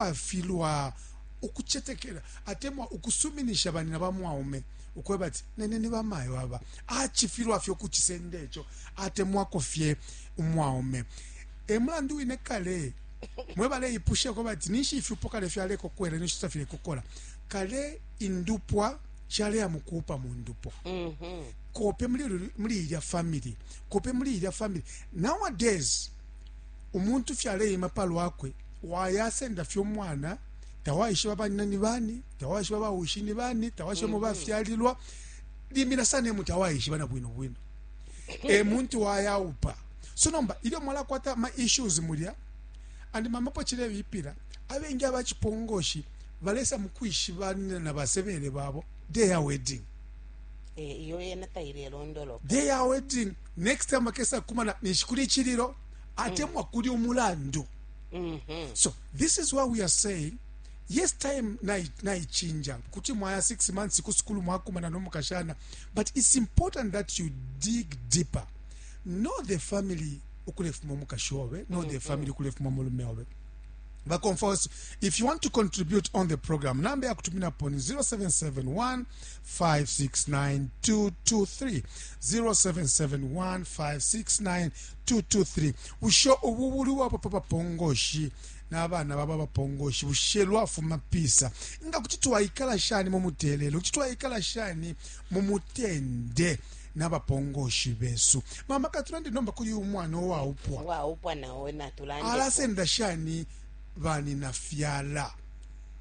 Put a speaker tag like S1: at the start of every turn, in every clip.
S1: Afilwa ukucetekela atemwa ukusuminisha banina ba mwaume ukweba ati nene ni bamayo aba, acifilwa fye ukucisenda ico, atemwako fye umwaume. E mulandu wine kale mwe baleipushako bati ninshi ifyupo kale fyalekokwela, ninshi tafilekokola. Kale indupwa shaleya mukuupa mu ndupwa, kope muli ilya family, kope muli ilya family. Nowadays umuntu fye aleima pa lwakwe, wayasenda fye umwana, tawaishiba banyina ni bani, tawaishiba bawishi ni bani, tawaishiba mo bafyalilwa, limbi na sana emu tawaishiba na bwino bwino e muntu wayaupa. So nomba ilyo mwalakwata ama issues mulya and mama po cilebipila, abengi abacipongoshi balesa mukwishibanina na basebele babo day ya wedding.
S2: Eh, iyo yena tailelondoloka.
S1: Day ya wedding, next time akesa kumana ninshi kuli icililo atemwa kuli umulandu. So this is what we are saying. Yes, time naichinja, kuti mwaya 6 months ku sukulu mwakumana no mukashana, but it's important that you dig deeper, know the family ukulefuma umukashi obe, know the family ukulefuma umulume obe. Bakomfos, if you want to contribute on the program, namba ya kutuminapo ni 0771 569 223, 0771 569 223. Bushe ubu buli wapa papongoshi n'abana baba bapongoshi, bushe lwafuma pisa? Nga kuti twaikala shani mu mutelelo, kuti twaikala shani mu mutende n'abapongoshi besu? Mama, katulande nomba kuli umwana uwaupwa.
S2: Waupwa nao natulande.
S1: Alasenda shani banina fyala,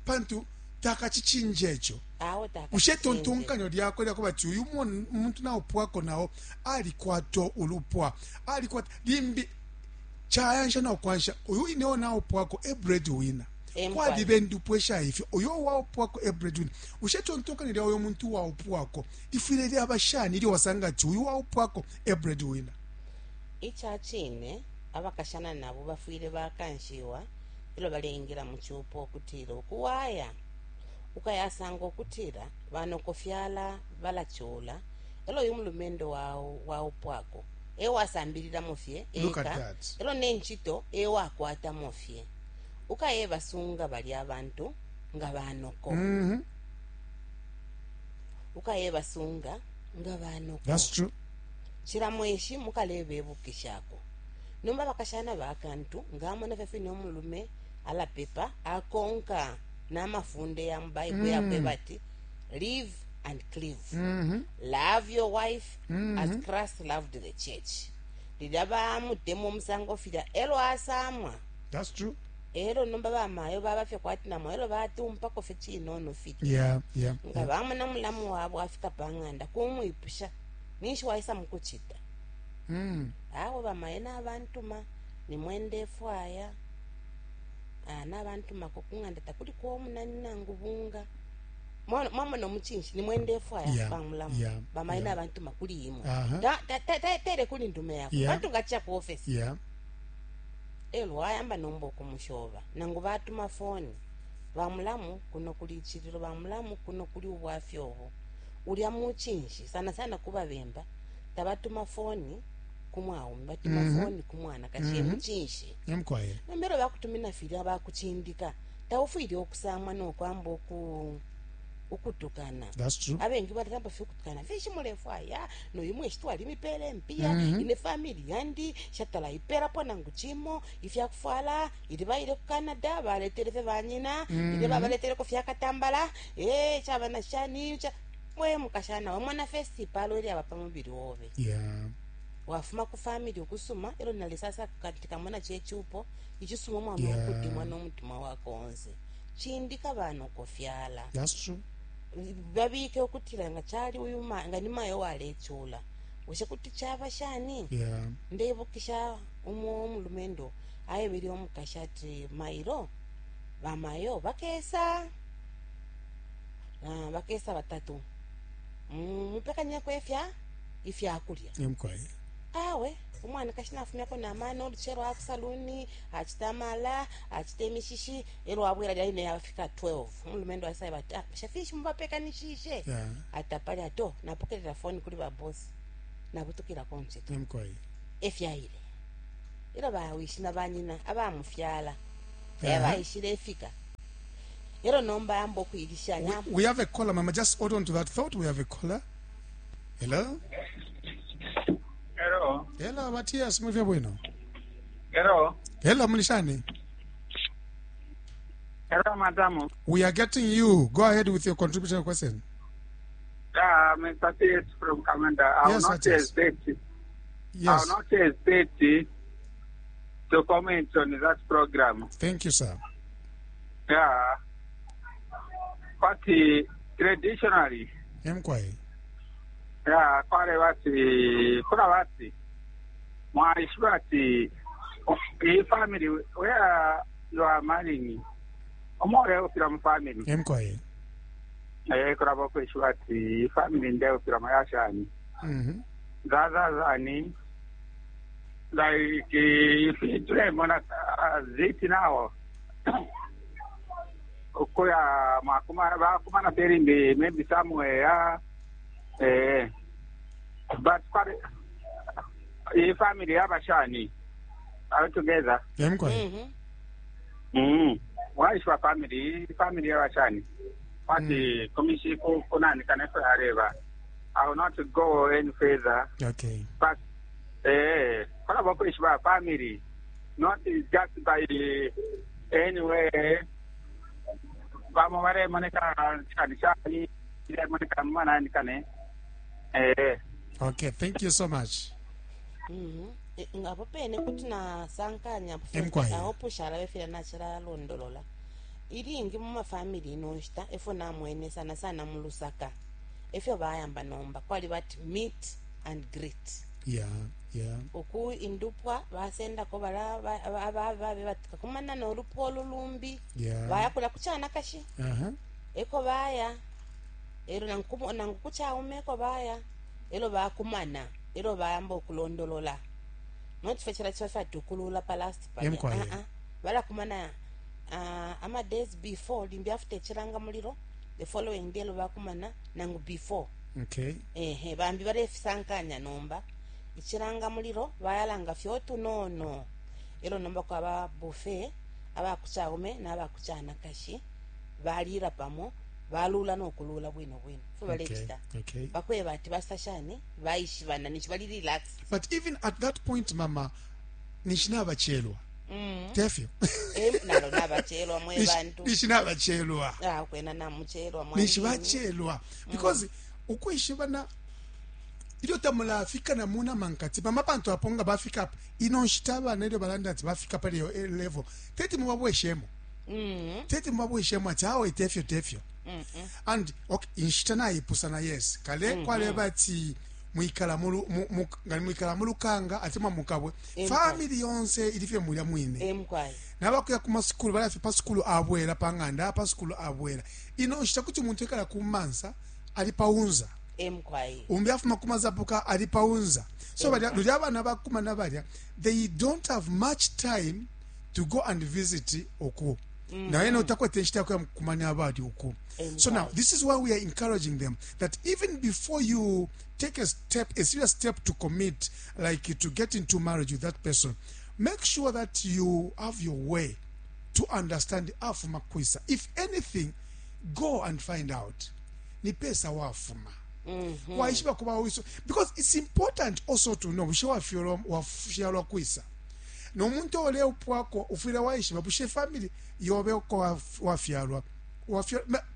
S1: pantu takacicinje ico?
S2: Awe.
S1: Bushe itontonkanyo lyakwe lyakuba ati uyu muntu naupwako nao alikwata ulupwa, alikwata limbi cayansha na ukwansha uyu inewo naupwako e breadwinner? Kwaliba indupwa ishaifyo, uyo waupwako e breadwinner. Bushe itontonkanyo lya uyo muntu waupwako lifwile lyaba shani ilyo wasanga ati uyu waupwako e breadwinner?
S2: Ica cine, abakashana nabo bafwile bakanshiwa ilyo baleingila mu cupo ukutila ukuwaya ukayasanga ukutila banokofyala balacula, elo uyu mulumendo waupwako ewasambililamo fye
S1: Look at
S2: eka,
S1: that.
S2: elo ne ncito ewakwatamo fye, ukayebasunga balya abantu nga banoko, ukayebasunga nga banoko.
S1: That's true.
S2: Cila mweshi mukalebebukishako. Nomba abakashana bakantu ngamona fye fine umulume alapepa, akonka n'amafunde ya mu Bible yakweba ati live and cleave, love your wife as Christ loved the church. Lilya bamutemwa umusango filya, elo asamwa.
S1: That's true.
S2: Elo nomba bamayo baba fye kwati namo, elo batumpako fye cinono filya, nga bamona mulamu wabo afika pa ng'anda kumwipusha, ninshi waisa mukucita? Awe, bamayo nabantuma, nimwe ndefwaya. Ah, nabantumako ku ng'anda takuliko omunani nangu bunga. Mwamona omucinshi, nimwe ndefwaya, bamulamu, bamayo nabantuma kuli imwe. Tere kuli ndume yako, pantu ngacha ku office, elo wayamba nomba okumushoba, nangu batuma foni, bamulamu kuno kuli ichililo, bamulamu kuno kuli ubwafya obo. Ulya mucinshi sana sana kubabemba, tabatuma foni kumwaume, batuma foni kumwanakashi. Mucinshi.
S1: Emkwaye.
S2: Nombelo bakutumina filya bakucindika, taufwile okusamwa nokwamba ukutukana.
S1: That's true.
S2: Abengi balatamba fye ukutukana, finshi mulefwaya noyu mweshi, twalimipele mpiya. Ine family yandi shatala ipelapo nangu chimo ifyakufwala, ili baile ku Canada baletele fye banyina, ili babaleteleko fyakatambala, e chaba na shani cha mwe mukashana wamona first ipalo ilyaba pa mubili obe. Wafuma ku family ukusuma, elo nalisasa katika chechupo ichisuma mwana, ukutimwa n'omutima wako onse, chindika banokofyala.
S1: That's true.
S2: Babike ukutila nga chali uyu nga ni mayo walechula, bushe kuti chaba shani? Ndeibukisha umo omulumendo aebele omukashi ati mailo bamayo bakesa, ah, bakesa batatu, mupekanyeko ifya ifyakulya.
S1: Emkwaye.
S2: Awe umwanakashi nafumyako namano oluchero akusaluni, achita amala, achita emishishi, elo abwera lyaine yafika 12, umulumendo asaiba ati, ah, shafishi mubapekanishishe? Atapali ato napokelela foni kuli babosi, nabutukilako ncito.
S1: Emkwaye.
S2: Efyaile ilo bawishi na banyina abamufyala ebaishile ifika. Elo nomba ayamba ukuilishanya.
S1: We have a caller, Mama. Just hold on to that thought. We have a caller. Hello?
S3: Hello.
S1: Hello, Matthias. Muli bwino.
S3: Hello.
S1: Hello, muli shani.
S3: Hello, madam.
S1: We are getting you. Go ahead with your contribution question.
S3: Yeah, Mr. T from Kamanda. I
S1: Yes,
S3: will not
S1: Matthias.
S3: hesitate.
S1: Yes.
S3: I will not hesitate to comment on that program.
S1: Thank you, sir.
S3: Yeah. But traditionally,
S1: Emkwai.
S3: yeah, kwale bati, kuna bati, mwaishiba ati, iyi family, where you are marrying, omore ufira mu family.
S1: Emkwai.
S3: Eh, kuraba kwishiba ati, iyi family nde ufira mu yashani. Zazazani, like if tulemona ziti nawo ukuya mwakumana bakumana perimbi maybe somewhere eh but kwari i family yabashani are together.
S1: Emkwai.
S3: Waishwa family family yabashani wati komishi kunani kanefo yareba. I will not go any further.
S1: Okay.
S3: But kola bakwishwa family not just by anyway vamwe varemoneka chani chani remoneka manani kane eh.
S1: Okay, thank you so much.
S2: Apo pene kuti nasankanya
S1: Emkwai.
S2: aho pushala befila nachilalondolola ilingi mumafamily ino nshita efo namwene sana sana mu Lusaka efyo bayamba nomba kwali bati meet and greet. Uku indupwa basendako bala ababe bati kakumana nolupwa olulumbi baya kula kuchana kashi eko baya elo nangu kuchaume eko baya elo bakumana elo bayamba okulondolola nochifo chila chifa tukulula pa last pale.
S1: Emkwai.
S2: Balakumana ama days before limbi after chilanga muliro the following day elo bakumana nangu before. Ehe, bambi balefisankanya nomba ichilanga muliro bayalanga fyotu nono elo nomba kwaba buffet abakuchaume n'abakuchana kashi balira pamo balula nokulula bwino bwino fo balechita bakweba ati basashani baishibana nichi bali relax.
S1: But even at that point, Mama, nishinabachelwa. Tefyo.
S2: Nalo nabachelwa mwe bantu.
S1: Nishinabachelwa.
S2: Ah, kwena namuchelwa mwe.
S1: Nishibachelwa. Because ukwishibana ilyo tamulafika na muna mankati mama pantu apo nga bafika apa ino nshita abana ilyo balanda ati bafika pali iyo level teti mubabweshemo teti mubabweshemo ati awe tefyo tefyo and okay, inshita naipusana yes kale kwaleba ati mwikala mulu nga mwikala mulukanga atemwa mukabwe family yonse ilifye mulya mwine
S2: Emkwai.
S1: Nabakuya ku masukulu balafye pa sukulu abwela pa ng'anda pa sukulu abwela ino nshita kuti umuntu ekala ku mansa ali paunza
S2: Emkwai.
S1: Umbi afuma kumazapuka ali paunza so balya luli abana bakumana balya they don't have much time to go and visit oku naye notakwete nshita yakuya kumanya abali oku. So now this is why we are encouraging them that even before you take a step, a serious step to commit, like to get into marriage with that person, make sure that you have your way to understand afuma kwisa. If anything, go and find out ni pesa wafuma waishiba kuba wiso, because it's important also to know bushe wafyalwa wafyalwa kwisa nomuntu oleupwako ufwile waishiba bushe family yobe uko wafyalwa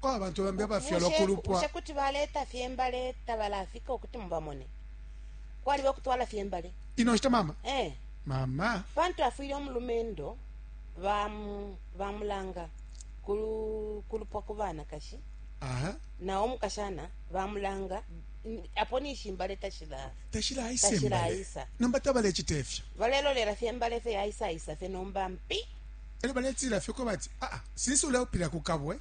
S1: kwa abantu bambi abafyalwa kulupwa.
S2: Bushe kuti baleta fyembale tabalafika okuti mubamone kwali bakutwala fyembale
S1: ino nshita mama mama
S2: pantu afwile omulumendo bamulanga kulupwa ku bana kashi nawo omukashana bamulanga apo nishimbale tashila
S1: tashilaisa
S2: Tashilaisa.
S1: Nomba tabalecita efyo
S2: balelolera fyembale fye yaisaisa fye nomba mpi
S1: elyo baletila fye ko bati aa sinsi uleupila kukabwe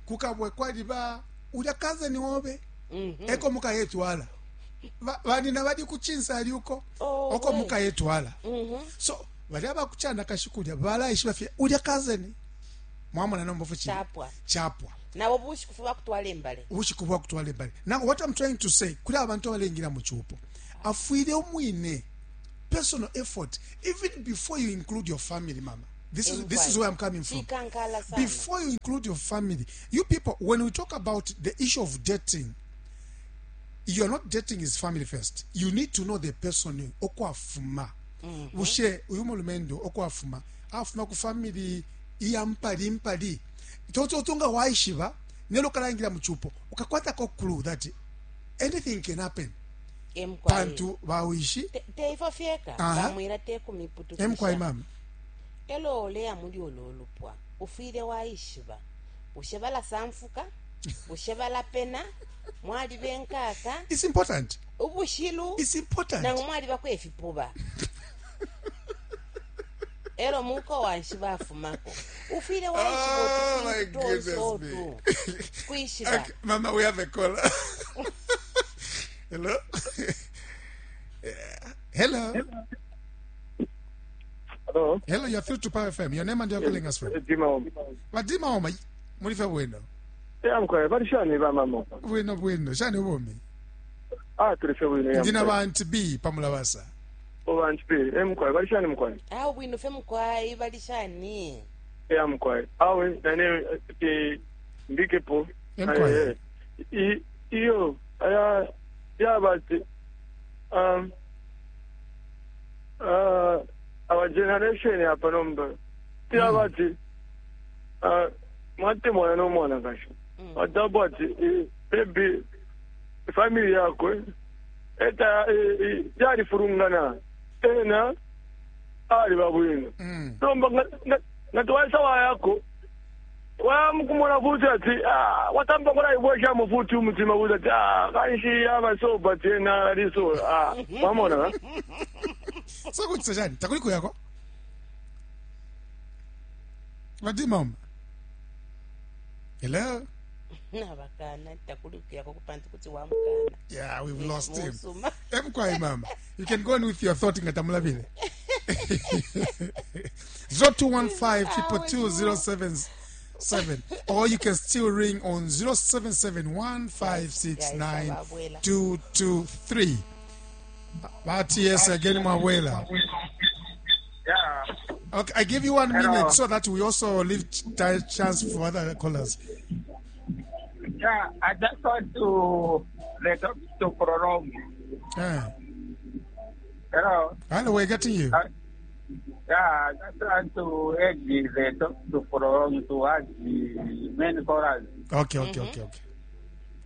S1: kukabwe kwaliba ulya kazeni wobe eko mukayetwala banina bali kuchinsa ali uko
S2: Oh,
S1: oko
S2: we.
S1: mukayetwala so bali abakuchana kashikulya balaishiba fye ulya kazeni mwamona nomba fuchi
S2: Chapwa.
S1: Chapwa.
S2: Nabo bushiku fye bakutwala embale
S1: ubushiku bwakutwala embale. Now what I'm trying to say kuli abantu abalengira mu chupo afwile omwine personal effort even before you include your family, mama. This is this is where I'm coming from.
S2: Chikankala sana.
S1: Before you include your family, you people, when we talk about the issue of dating, you are not dating his family first. You need to know the person okwafuma. Bushe uyu mulumendo okwafuma afuma ku family iya mpali mpali. Toto tunga waishiba nelo kalangira muchupo ukakwata ko clue that anything can happen.
S2: Emkwai.
S1: Pantu bawishi
S2: Teifo fyeka
S1: Aha.
S2: bamwira tekumiputukisha
S1: emkwai mama.
S2: Elo oleya muli ulo lupwa ufwile waishiba bushe balasamfuka bushe balapena mwaliba enkaka
S1: It's important.
S2: ubushilu
S1: It's important.
S2: nangu mwalibako efipuba elo muko wanshi bafumako ufwile waishiba
S1: Oh my
S2: utufintu tonse
S1: goodness
S2: otu
S1: me.
S2: kwishiba
S1: Okay, Mama, we have a caller. Hello. Yeah. Hello.
S4: Hello.
S1: Hello, you're through to Power FM. Your name and you're calling us from.
S4: Dima.
S1: Vadima oma mulife bwino.
S4: Ya mkwai bali shani ba mama.
S1: Bwino bwino. Shani ubomi.
S4: Ah tulife bwino ya.
S1: Ndina bantu B pamulabasa.
S4: Obantu B. Em mkwai bali shani mkwai.
S2: awe bwino fe mukwai bali shani
S4: Ya mkwai. Awe nane ke mbikepo.
S1: Em mkwai.
S4: I iyo aya ya bati um our generation hapa nomba. Ya bati uh mwate mwana no mwana kasho. Adabu ati baby family yakwe eta yalifurungana ena ali babwino nomba nga tiwaisawa yako wamukumona futi ati ah, watamba kulaibweshamo futi umutima futi ati ah, kanshi abasoba ti ena aliso ah, wamona
S1: So kuti shani takuli kuyako. Vadima oma. Hello.
S2: nabakana takulikuyako kupantu kuti wamukana
S1: Yeah, we've lost him.
S2: Musuma.
S1: Emkwai mama. You can go on with your thought ngatamulabile. 0215 22077 or you can still ring on 0771 569 223. But yes, again Mwawela.
S3: Yeah.
S1: Okay, I give you one
S3: Hello.
S1: minute so that we also leave chance for other callers.
S3: Yeah, I just want to let up to prolong.
S1: Eh.
S3: Hello.
S1: Hello, we're getting you.
S3: Yeah, I just want to add the talk to prolong to add the main callers.
S1: Okay, okay, okay, okay.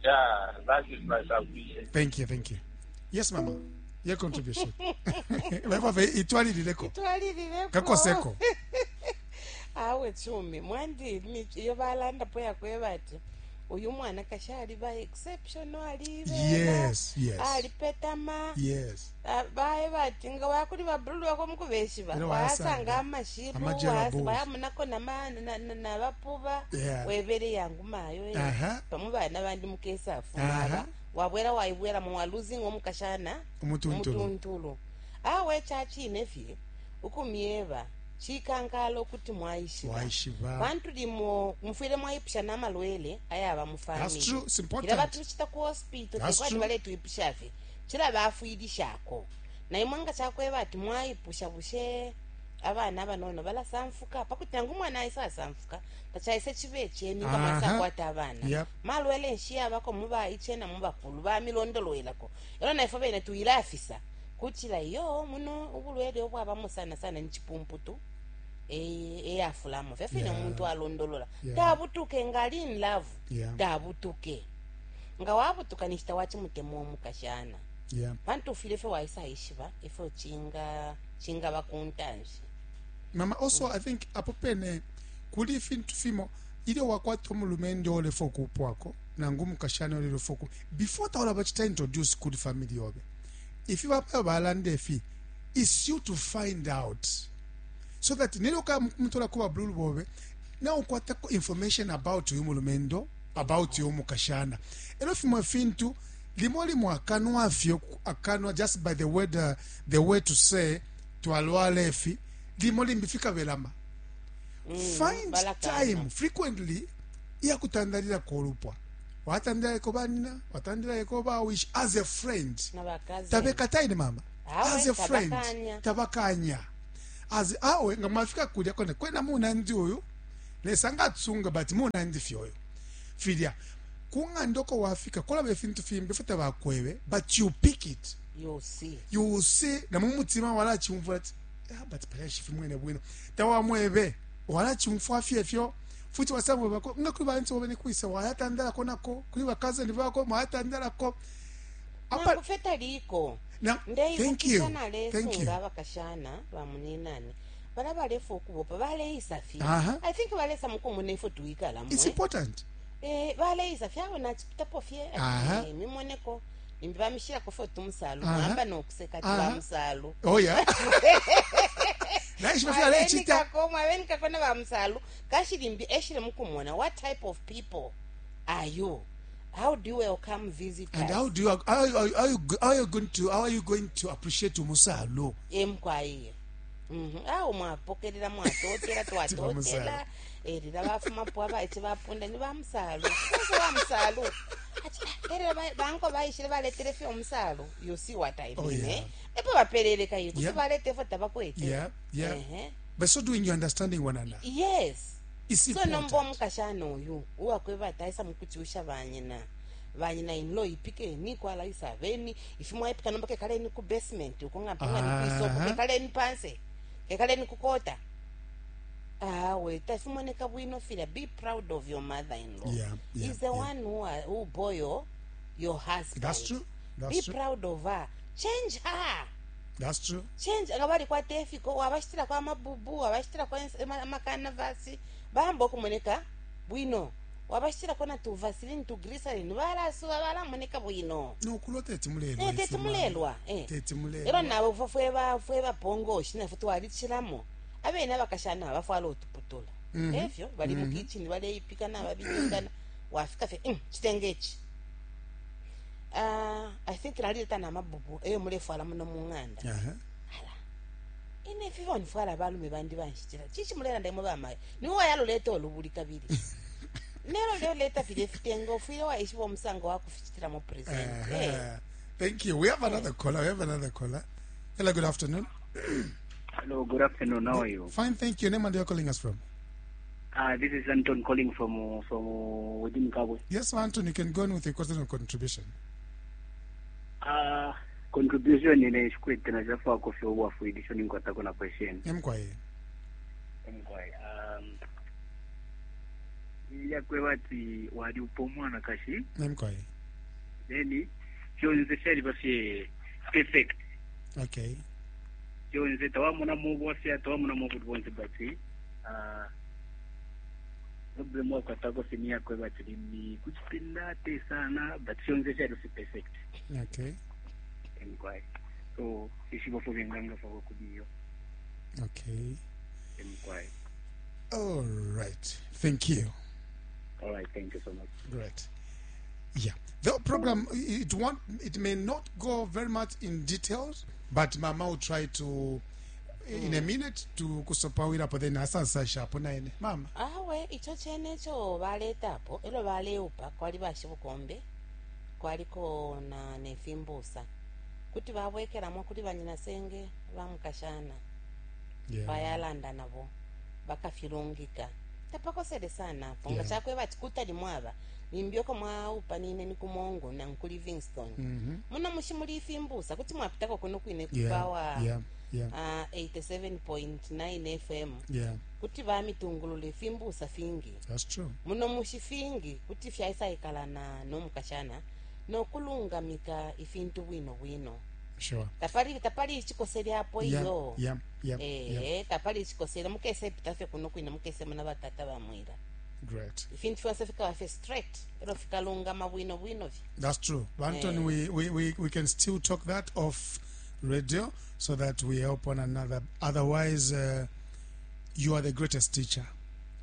S3: Yeah, that is my submission.
S1: Thank you, thank you. Yes, mama. Your contribution. Wewe itwalilileko.
S2: Itwalilileko.
S1: Kakoseko.
S2: Awe chumi mwandi iyo balandapo yakweba ati uyu mwana kashi aliba exceptional alibela
S1: Yes, yes.
S2: alipetama
S1: Yes.
S2: baye bati nga wakuli babululu bako mukubeshiba
S1: Ero
S2: wasanga
S1: wasanga
S2: amashiru
S1: amajela bulls.
S2: bayamunako nabapuba
S1: Yeah.
S2: webele yangu mayo eh.
S1: Aha.
S2: pamwe bana bandi mukesafu
S1: Aha.
S2: aba wabwera waibwera muwaluzinga omukashana
S1: Umutuntulu.
S2: umutuntulu awe chachine fye ukumyeba chikankala okuti mwaishiba
S1: Waishiba.
S2: pantu limo mufwile mwaipusha namalwele ayaba mu
S1: That's
S2: family
S1: true. It's important.
S2: Ila batuchita ku hospital
S1: That's
S2: tekwati
S1: true.
S2: baletwipusha fye chila bafwilishako naimwe nga chakweba ati mwaipusha bushe abana abanono balasamfuka pakuti nangu umwana aisa asamfuka tachaise chibe cheni nga
S1: Aha.
S2: mwasakwata abana
S1: Yep.
S2: malwele nshi yabako mubaiche na mubakulu bamilondolwelako elo naifwe bene tuilafisa kutila iyo muno ubulwele obwabamo sana sana ni chipumputu eyafulamo fyafine
S1: Yeah.
S2: omuntu alondolola
S1: Yeah.
S2: tabutuke nga ali in love
S1: Yeah.
S2: tabutuke nga wabutuka nishita wachimutemwa omukashana
S1: Yeah.
S2: pantu ufile fye waisaishiba ifyo chingaba kuntanshi
S1: Mama, also I think apo pene kuli fintu fimo ilyo wakwata omulumende olefa okupwako nangu omukashana olefa oku before taola bachita introduce kuli family yobe if baba balanda efi it's you to find out so that nelyo kamutola kuba bululu bobe naukwatako information about uyu mulumendo about uyu mukashana elo fimo fintu limo limo akanwa fyo akanwa just by the word the way to say twalwala efi limo limbi fikabelama find
S2: balakana.
S1: time frequently iyakutandalilako olupwa watandalilako banina watandalilako bawishi as a friend
S2: nabakazi
S1: tabekataine mama
S2: Awe,
S1: as a friend
S2: tabakanya.
S1: tabakanya. As awe nga mwafika kulya kwena kwena munandi uyu Lesa nga atsunga but munandi fye uyu. Filya ku ng'anda uko wafika kulaba ifintu fimbi ifyo tabakwebe but you pick it.
S2: You see.
S1: You see na mu mutima walachumfwa ati ah, but palya shifimwene bwino. Tawamwebe walachumfwa fye fyo futi wasamwebako nga kuli bantu bobe nikwisa wayatandalako nako kuli bakazeni bako mwayatandalako.
S2: Nangu fye taliko.
S1: Na, thank you.
S2: Ndeibukisha nalesunga abakashana bamuninane bala balefwa ukubopa baleisa fye. I think balesa mukumona ifyo twikala
S1: It's important.
S2: Eh, baleisa fye abo nachipitapo fye. Eh, mimoneko limbi bamishirako fye tumusalu mwamba nokuseka ati bamusalu.
S1: Oh yeah. Naishiba fye alecita.
S2: Mwabenikako mwabenikako na bamusalu kashi limbi eshile mukumona what type of people are you? How do you welcome visitors?
S1: And how do you how, how, how, you, how are you going to how are you going to appreciate umusalo?
S2: Emkwaiye. Awo mwapokelela mwatotela twatotela. Eh lila bafumapo abaice bapunda ni bamusalu. Kwanza bamusalu. Ati erera banko baishile baletele fye umusalu. You see what I mean?
S1: Oh, yeah.
S2: Eh? Epo bapelele kayi kuti
S1: Yeah.
S2: balete fo tabakwete.
S1: Yeah.
S2: Uh-huh.
S1: But so doing you understanding one another.
S2: Yes.
S1: It's
S2: So
S1: important.
S2: nomba omukashana uyu uwakweba ati aisa mukuchusha banyina banyina inlo ipikeni kwalaisa abeni ifi mwaipika nomba kekaleni ku basement uko nga mpanga ni kwisoko kekaleni panse kekaleni kukota awe tafimoneka bwino filya. Be proud of your mother in law. Is the one who, are, who bore your husband.
S1: That's true. That's
S2: Be
S1: true.
S2: proud of her. Change her.
S1: That's true.
S2: Change nga balikwata efiko wabashitirako amabubu wabashitirako amakanavasi bamba okumoneka bwino wabashitirako na tuvasilini tugrisalini balasuba balamoneka bwino.
S1: No kulwa teti mulelwa.
S2: Eh, teti mulelwa eh.
S1: Teti mulelwa.
S2: Elo nawe fwe fweba fweba pongoshi nafwe twalichilamo abene abakashana bafwala utuputula efyo bali mu kitchen baleipika nababilingana wafika fye chitenge ichi. I think nalileta namabubu eyo mulefwala muno mu ng'anda. Ala ine fifa nifwala abalume bandi banshitira chichi mulelanda imwe bamayo niwe wayaloleta olubuli kabili nelo leoleta filya ifitengo ufwile waishiba omusango wakufichitiramo present. Eh.
S1: Thank you. We have another caller. We have another caller. Hello, good afternoon.
S5: Hello, good afternoon. How are you?
S1: Fine, thank you. Name and you're calling us from?
S5: This is Anton calling from within Kabwe.
S1: Yes, Anton, you can go on with your question or contribution.
S5: Contribution ine shikwete na jafa kofi obwafwilisho ninkwatako na question.
S1: Emkwaye.
S5: Emkwaye. Yakweba ati wali upo omwana kashi.
S1: Emkwaye.
S5: Then fyonse fyaliba fye perfect.
S1: Okay.
S5: Fyonse tawamona mu bwafya tawamona mu bonse but problem wakwatako fye ni yakweba ati ni kuchipinda te sana but fyonse fyali fye perfect.
S1: Okay.
S5: Emkwaye. So ishibo fo benganga fa kudiyo.
S1: Okay.
S5: Emkwaye.
S1: All right. Thank you.
S5: All right, thank you so much.
S1: Great. Yeah. The program, it won't, it may not go very much in details, but Mama will try to, in a minute, to kusopawira apo then asansa shapo naine. Mama.
S2: Awe icho chene icho baletapo elo baleupa kwali bashibukombe kwaliko na nefimbusa kuti babwekelamo kuli banyina senge bamukashana bayalanda nabo bakafilungika tapakosele sana apo nga chakweba ati kutali mwaba limbi mwaupa nine ni kumongo na ku Livingstone. Muno mushi muli ifimbusa kuti mwapitako kuno kwine kupawa 87.9 FM kuti bamitungulula ifimbusa fingi.
S1: That's true.
S2: Muno mushi fingi kuti fyaisaikalana nomukashana nokulungamika ifintu bwino bwino.
S1: Sure.
S2: Tapali tapali ichikosele apo iyo.
S1: Yeah.
S2: Tapali ichikosele mukese pita fye kuno kwine mukese muna batata bamwira.
S1: Great.
S2: Ifintu fyonse fikaba fye straight elo fikalungama bwino bwino fye.
S1: That's true. But Anton, we can still talk that off radio so that we help one another. Otherwise, you are the greatest teacher.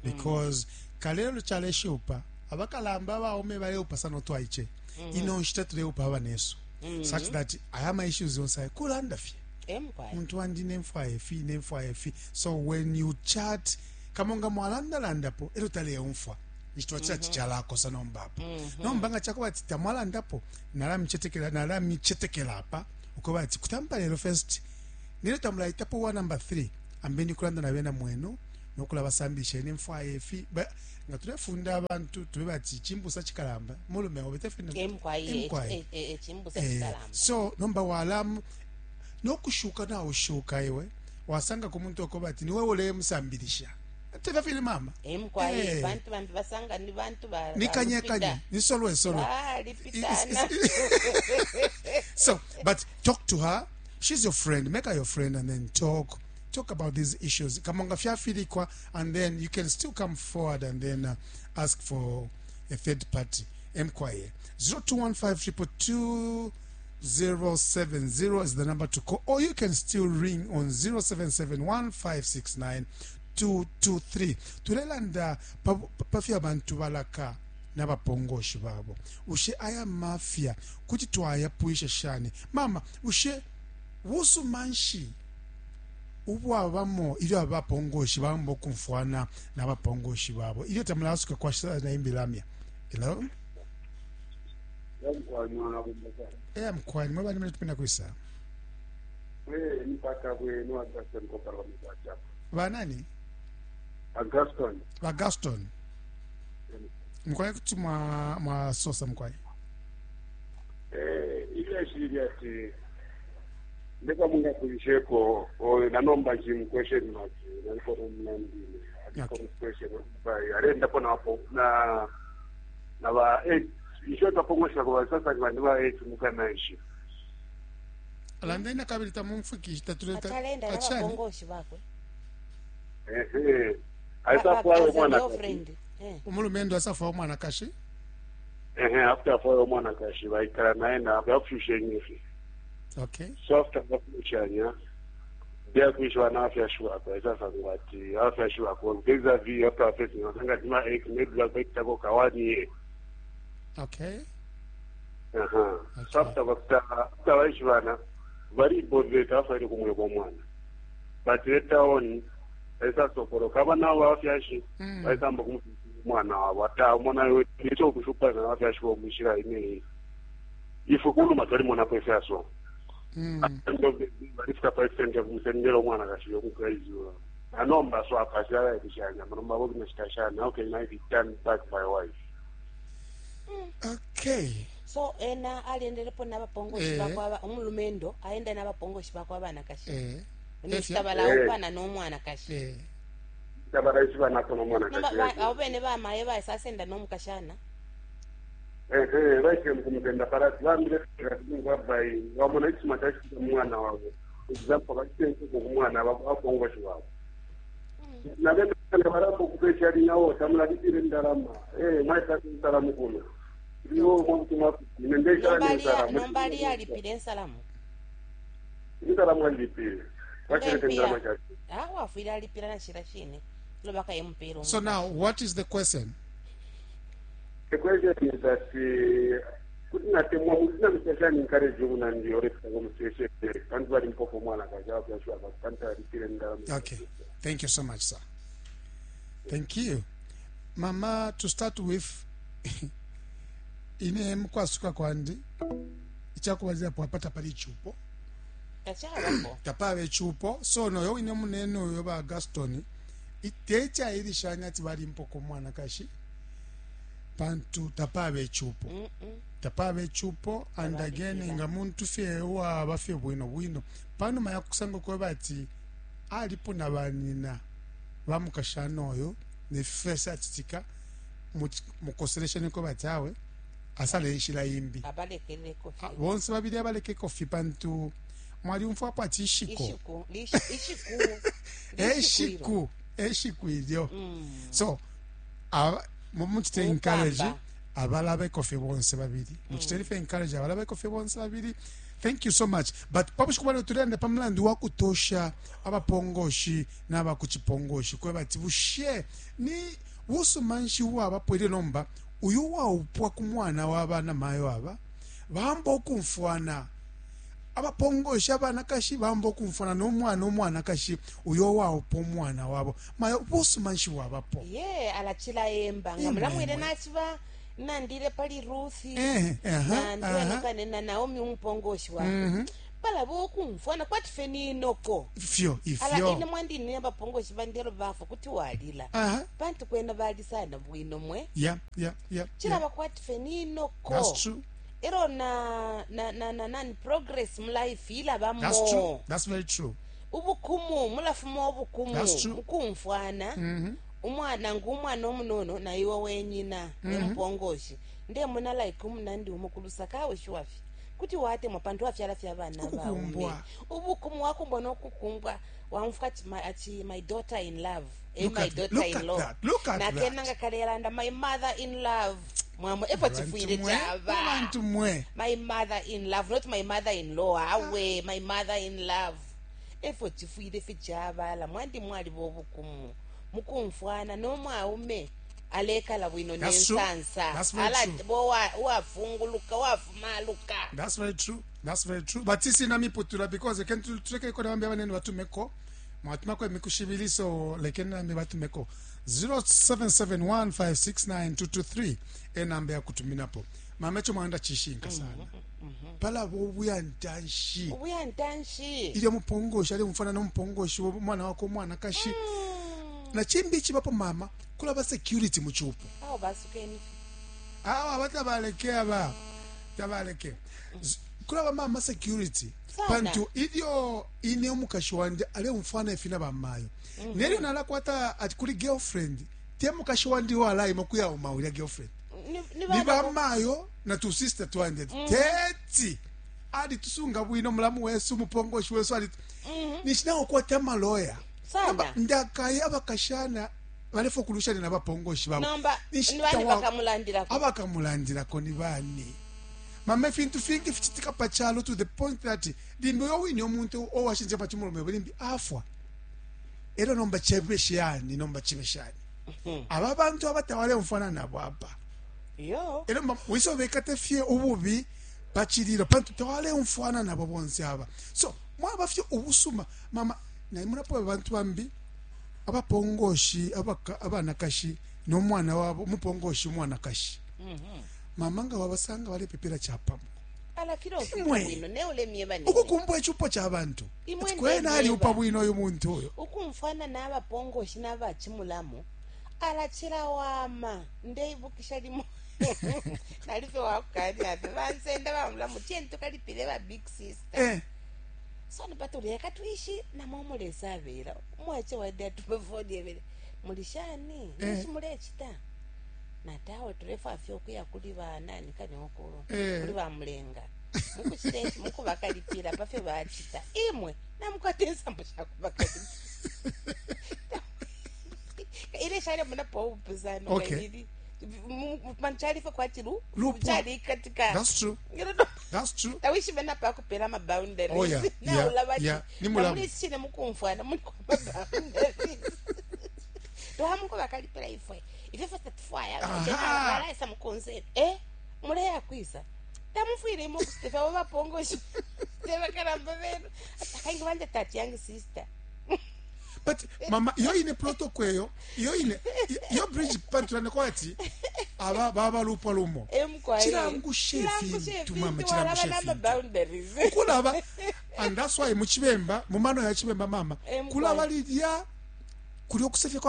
S1: Because kalelo chaleshupa abakalamba baume baleupa sana twaiche. Ino nshita tuleupa abanesu. Such that aya issues yonse kulanda fye.
S2: Emkwai.
S1: Muntu wandi nemfwa efi nemfwa efi. So when you chat kamonga mwalanda landapo elo taleumfwa. Nchitwa cha chalakosa nombapo. Nomba nga chakuba ati tamwalandapo nalamichetekela nalamichetekela apa ukoba ati kutampa lero first nilo tamulaitapo wa number 3. Ambeni kulanda na bena mwenu nokulabasambilisha ine mfwaya ifi. Nga tulefunda abantu tube bati chimbusa chikalamba mulume obe tefine
S2: emkwai chimbusa chikalamba.
S1: So nomba walamu nokushuka na ushuka iwe wasanga ku muntu okobati niwe ule musambilisha tena fili mama
S2: emkwai bantu bambi basanga ni bantu ba
S1: nikanye kanye ni solwe solwe
S2: ah lipitana.
S1: So but talk to her, she's your friend, make her your friend and then talk about these issues. Kamonga fyafilikwa, and then you can still come forward and then ask for a third party. Mkwaye 0215 222 070 is the number to call, or you can still ring on 0771 569 223. Tulelanda pafya abantu balaka n'abapongoshi babo. Ushe aya mafia kuti twayapwisha shani mama, ushe busumanshi ubwabamo ilyo abapongoshi bambo kumfwana n'abapongoshi babo ilyo tamulasuka kwa na imbilamya. Hello? Mkwani mwaba ni mtupenda kuisa. Banani?
S4: Gaston.
S1: Ba Gaston. Mkwani kuti mwa sosa mkwani.
S4: Ile shiri ati ndeka munga kulisheko o na nomba jim question mark na niko mnandine.
S1: Okay.
S4: Question by arenda pona hapo na ba isho tapongosha kwa sasa ni ba 8 mukanaishi.
S1: Alandena kabili tamumfikisha tatuleta
S2: atalenda n'abapongoshi bakwe.
S4: Aisa mwana
S2: friend.
S1: Umulumendo asafa mwana kashi.
S4: After for mwana kashi baikara naenda bafushenye.
S1: Okay.
S4: So after bafushanya dia kuishwa na afya shua kwa sasa ngati afya shua kwa vis-a-vis after facing nganga dima ek maybe baikitako kawani.
S1: Okay.
S4: So after after baishwana bari bodwe afa ile kumwe kwa mwana. But later on esa sokoro kaba nawo afyashi baisamba kumwana wabo ata mwana yo nicho kushupa na afyashi bo mushira ine ifukulu matwali mwana pesa so. Ndo barifika pa extent ya kumsendera mwana kashiyo kukaizura. Anomba so akashara ikishanya manomba bo kinashitashana okay now he turn back my wife.
S1: Okay.
S2: So ena aliendelepo n'abapongoshi bakwa umulumendo aenda n'abapongoshi bakwa abana kashi. Nistabala upana n'omwana kashi.
S4: Tabara isiba nako n'omwana kashi.
S2: Abo bene bamaye basasenda n'omukashana.
S4: Baike mkumtenda parati bambire kwa bai wamona isima tashi mwana wabo. Example bakitenze ku mwana abapongoshi wabo. Na bene barabo kupesha nawo tamula ditire ndarama. Mwaita nsalamu kuno. Ndiwo mwakutumwa nimendesha
S2: nsalamu. Nombali alipile nsalamu.
S4: Nsalamu alipile. Bakirete ndarama chacho.
S2: Wafwile alipila na shira shine. Lobaka yempero.
S1: So now what is the question?
S4: The question is that kunatemwa muzina mtashani encourage una ndio refika kwa mseshe kantu bali mpoko mwana kaja kwa shwa kanta alipile ndarama.
S1: Okay. Thank you so much, sir. Thank you. Mama, to start with ine mkwasuka kwandi ichakubazira pwapata pali chupo tapave chupo so noyo ine munene uyo ba Gaston itecha ilishanya ati bali mpoko mwana kashi pantu tapave chupo tapave chupo and again nga muntu fye wa bafye bwino bwino pano maya kusanga kwa bati alipo na banina bamukashana oyo ne fesa atitika mukoselesha niko batawe asale nshila imbi
S2: abalekele kofi
S1: bonse babili abaleke kofi pantu mwali umfwa pa tishiko
S2: ishiku
S1: eshiku ilyo so muchite encourage abalabe kofi bonse babili muchite ife encourage abalabe kofi bonse babili. Thank you so much. But pabushku bale tulende pamlandu wa kutosha abapongoshi n'abakuchipongoshi kwe bati bushe ni busumanshi wa bapwele nomba uyu wa upwa ku mwana w'abana mayo aba bambo okumfwana abapongoshi abana kashi bambo okumfwana n'omwana omwana kashi uyo wa upwa omwana wabo mayo busumanshi wabapo
S2: ye alachila yemba nga mulamwire nachiba nandile pali Ruthi na ndiwe na Naomi umupongoshi wako. Palaba ukumfwana kwati fye ni noko.
S1: Ifyo
S2: Ala ine
S1: ifyo.
S2: mwandi ine abapongoshi bandi elo bafwa kuti walila. Pantu kwena bali sana bwino mwe.
S1: Yeah.
S2: Chilaba kwati fye ni noko.
S1: That's true.
S2: Elo na na na na nani progress mu life ilabamo.
S1: That's true. That's very true.
S2: Ubukumu mulafuma ubukumu
S1: That's true.
S2: mukumfwana. Umwana ngu umwana omunono na iwe wenyina emupongoshi. Ndemona like umunandi umukulu sakawe shuwafi. Kuti watemwa pantu wafyala fya abana baume.
S1: Ukukumbwa.
S2: Ubukumu wakumbwa nokukumbwa wamfuka ati my, ati my daughter in love. Eh,
S1: Look
S2: my
S1: at-
S2: daughter
S1: look
S2: in
S1: at
S2: law.
S1: that. Look at
S2: Nakena
S1: that.
S2: nga kalelanda my mother in love. Mwamwe efo
S1: Bantu
S2: chifwile
S1: mwe,
S2: chaba.
S1: bantu mwe.
S2: My mother in love, not my mother in law. Awe, my mother in love. Efo chifwile fichabala mwandi mwali bobukumu. Mukumfwana no mwaume alekala bwino
S1: That's true.
S2: nensansa.
S1: That's very
S2: Ala
S1: true.
S2: bo wa wafunguluka wafumaluka.
S1: That's very true. That's very true. But sisi namiputula because lekeni tuleke kona bambi abanene batumeko. Mwatumako emikushibili so lekeni nambi batumeko. 0771569223 enamba ya kutuminapo. Mama echo mwanda chishinka sana. Pala obuya ntanshi.
S2: Ubuya ntanshi.
S1: Ilyo mupongoshi ali mufana nomupongoshi umwana wako umwanakashi. Na chimbi ichibapo mama kulaba security mu chupo.
S2: Awo basukeni.
S1: Awa abatabaleke aba tabaleke kulaba mama security
S2: Sana.
S1: pantu ilyo ine umukashi wandi aleumfwana ifi na bamayo nelyo nalakwata ati kuli girlfriend te mukashi wandi walaima kuyauma ulya girlfriend
S2: Ni, ni
S1: ni
S2: bana
S1: bamayo na tu sister twandi ati teti ali tusunga bwino mulamu wesu umupongoshi wesu ali nishinawo kwata amaloya
S2: Sana.
S1: Namba, ndakaye abakashana balefa okulushana nabapongoshi babo
S2: Nomba
S1: Ninshi
S2: ni bani
S1: tawa-
S2: bakamulandirako.
S1: abakamulandirako ni bani mama ifintu fingi fichitika pachalo to the point that limbi uyo wine omuntu owashinja pachimulume limbi afwa elo nomba chibe shani nomba chibe shani aba bantu abatawale nabo apa
S2: Yo.
S1: elo mba wiso bekate fye ububi pachililo pantu tawaleumfwana nabo bonse aba so mwaba fye ubusuma mama naimunapo abantu bambi abapongoshi abanakashi nomwana wabo umupongoshi umwanakashi mama nga wabasanga balepepela chapamo
S2: Ala filo
S1: Imwe.
S2: bwino ne ulemye bani.
S1: ukukumbwa echupo cha bantu
S2: Imwe
S1: Ati kwena
S2: ndemyeba.
S1: aliupa bwino uyu muntu uyo
S2: Ukumfwana n'abapongoshi n'abachimulamu alachila wama ndeibukisha limo nalife wakukani ape vansenda vamulamu tieni tukalipile va big sister
S1: eh
S2: so nipatuleka tuishi namwe mulesavela umwache wade atupe foni evele mulishani
S1: Eh.
S2: nishi mulechita natawe tulefa fye okuya kuli vanani kaniokulu
S1: Eh.
S2: kuli vamulenga mukuchitechi mukuvakalipira pafye vachita imwe namukwata ensambo shakuvakalipira ile shale munapo upuzano
S1: Okay.
S2: kaili manchalife kwati
S1: Lupwa.
S2: chali katika
S1: that's true that's true
S2: tawishive napakupela maboundaries
S1: Oh, yeah, yeah,
S2: naula
S1: yeah. Ni mulamu.
S2: mulisine mukumfwana muli kwa maboundaries twamuko vakalipela ifwe ife fwe tatufwaya
S1: Aha.
S2: valaisa mukonzeni eh muleya kwisa tamufwile imo kusitefa vo vapongoshi tevakalamba venu akaingi vanje tati yangi sister
S1: but mama iyo ine protocol eyo iyo ine iyo bridge pantulane kwati aba baba lupwa lumo
S2: emkwaye
S1: Chilangushe ifintu, mama, chilangushe ifintu.
S2: namaboundaries
S1: kulaba and that's why muchibemba mumano ya chibemba mama
S2: Emkwaye.
S1: kulaba lilya kuli okusefya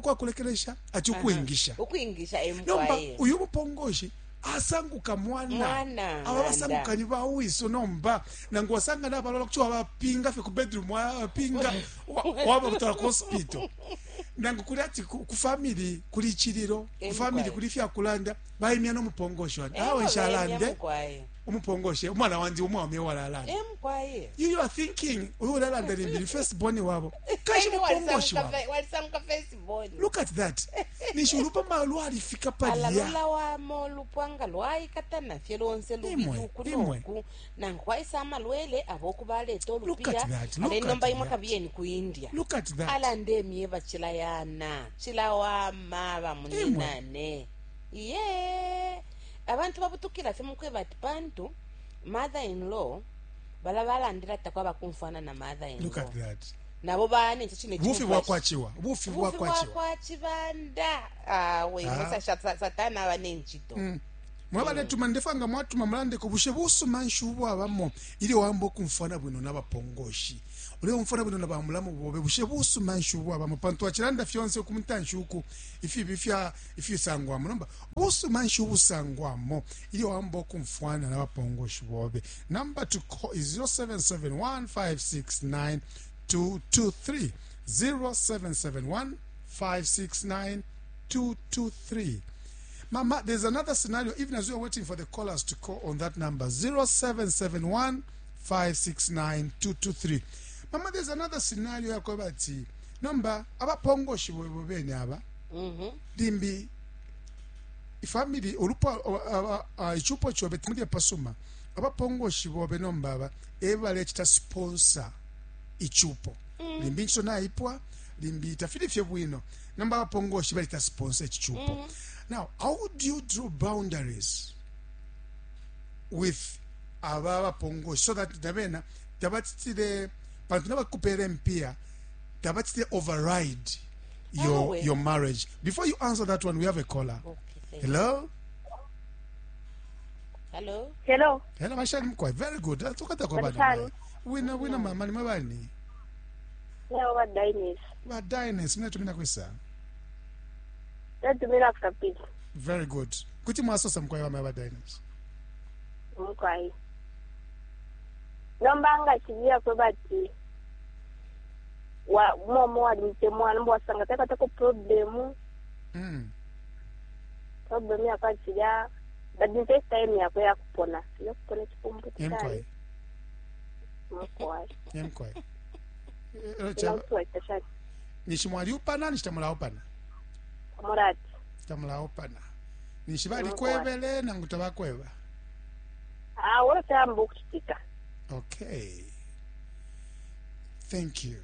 S1: kwakulekelesha ati ukuingisha
S2: ukuingisha
S1: nomba
S2: emkwaye
S1: uyu mupongoshi asanguka mwana
S2: Mwana,
S1: aba basangukanyi bawiso nomba nangu wasanga nabalola kuti wabapinga fye ku bedroom wabapinga wababutwala ku hospital nangu kuli ati ku family kuli chililo ku family
S2: Emkwaye.
S1: kuli fyakulanda baimya nomupongoshi wandi awe nshalande
S2: emkwaye
S1: umupongoshi umwana wandi umwaume walalanda
S2: emkwaye
S1: you are thinking uyu ulalanda limbi ni first born wabo kashi mupongoshi wabo
S2: walisanguka first born
S1: look at that ninshi ulupa lwalifika
S2: ala
S1: palya
S2: lula wamo lupwanga lwaikatana fye lonse lubili
S1: Imwe,
S2: uku
S1: imwe.
S2: noku nangu kwaisa amalwele aboku baleta
S1: Look
S2: olupiya
S1: at that, look
S2: ale nomba
S1: at
S2: imwe
S1: that.
S2: kabiyeni ku india
S1: look at that
S2: ala ndemyeva chilayana chilawama bamuninane iye abantu babutukila fye mukweba ati pantu mother in law bala balandila takwaba kumfwana na mother in
S1: look
S2: law
S1: at that
S2: nabo bane chine
S1: bufi bwakwachiwa bufi
S2: bufi
S1: bwakwachiwa
S2: bwakwa chibanda awe
S1: Ah.
S2: musa satana aba nenchito.
S1: Mwabaletuma ndefwa nga mwatuma mulandeko bushe busuma nshi ubwabamo ilyo wamba ukumfwana bwino n'abapongoshi uleumfwana bwino na bamulamu bobe bushe busuma nshi ubwabamo pantu wacilanda fyonse ku mutanshi uku ifibi fya ifisangwamo nomba busuma nshi ubusangwamo ilyo wamba ukumfwana n'abapongoshi bobe. Number to call is 0771 569 223, 0771 569 223. Mama, there's another scenario, even as we are waiting for the callers to call on that number, 0771 569 223. Mama, there's another scenario yakweba ati nomba abapongoshi bwebo bene aba limbi ifamily ulupwa ichupo chobe timuli pasuma abapongoshi bobe nomba aba ebalecita sponsor ichupo limbi nchito naipwa limbi tafili fye bwino nomba abapongoshi balita sponsor ichichupo. Now, how do you draw boundaries with aba abapongoshi so that nabena tabatitile pantu nabakupera mpia tabatitile override your
S2: Awe.
S1: Your marriage? Before you answer that one, we have a caller.
S2: Okay, thank you.
S1: Hello.
S2: Hello.
S6: Hello.
S1: Hello, mashani mkwai. Very good. Tukata kwa bana.
S6: Mashani.
S1: Wina wina mama ni mabani.
S6: Leo wa Dines.
S1: Ba Dines mnatumina kwisa.
S6: Natumira kapiti.
S1: Very good. Kuti mwasosa mkwai wa maba Dines.
S6: Mukwai. Nomba nga chilia kwe bati. Wa momo wali mtemwa nomba wasanga taka tako problemu. Problemu yakwa chilia. But the first time yakwe yakupona. Yakupona chipumbu
S1: Yemkwai.
S6: Mukwai.
S1: Yemkwai.
S6: Ila chashani.
S1: Nishi mwaliupana nishi tamulaupana.
S6: Murati.
S1: Tamulaupana. Nishi bali kwebele nangu tabakweba.
S6: Ah, wala tambo kuchitika.
S1: Okay. Thank you.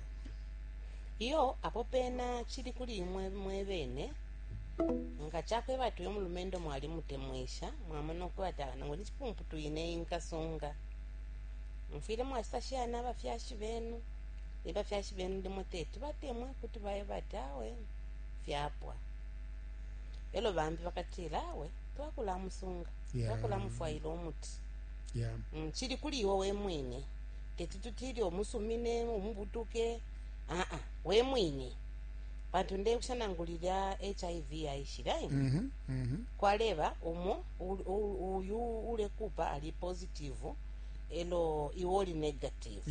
S2: Iyo apo pena chili kuli imwe mwebene nga chakweba tuyo mulumendo mwali mutemwisha mwamona okukwata nangu ni chipumpu tuine inkasunga mfile mwasashiyana abafyashi benu ebafyashi benu ndimo tetu batemwe kuti baye bati awe fyapwa elo bambi bakatila awe twakulamusunga twakulamufwaila omuti. Chili kuli iwe we mwine teti tutili omusumine omubutuke aa we mwine pantu ndekushanangulila HIV yaishila kwaleba umo uyu ulekupa ali positive elo iwe oli negative.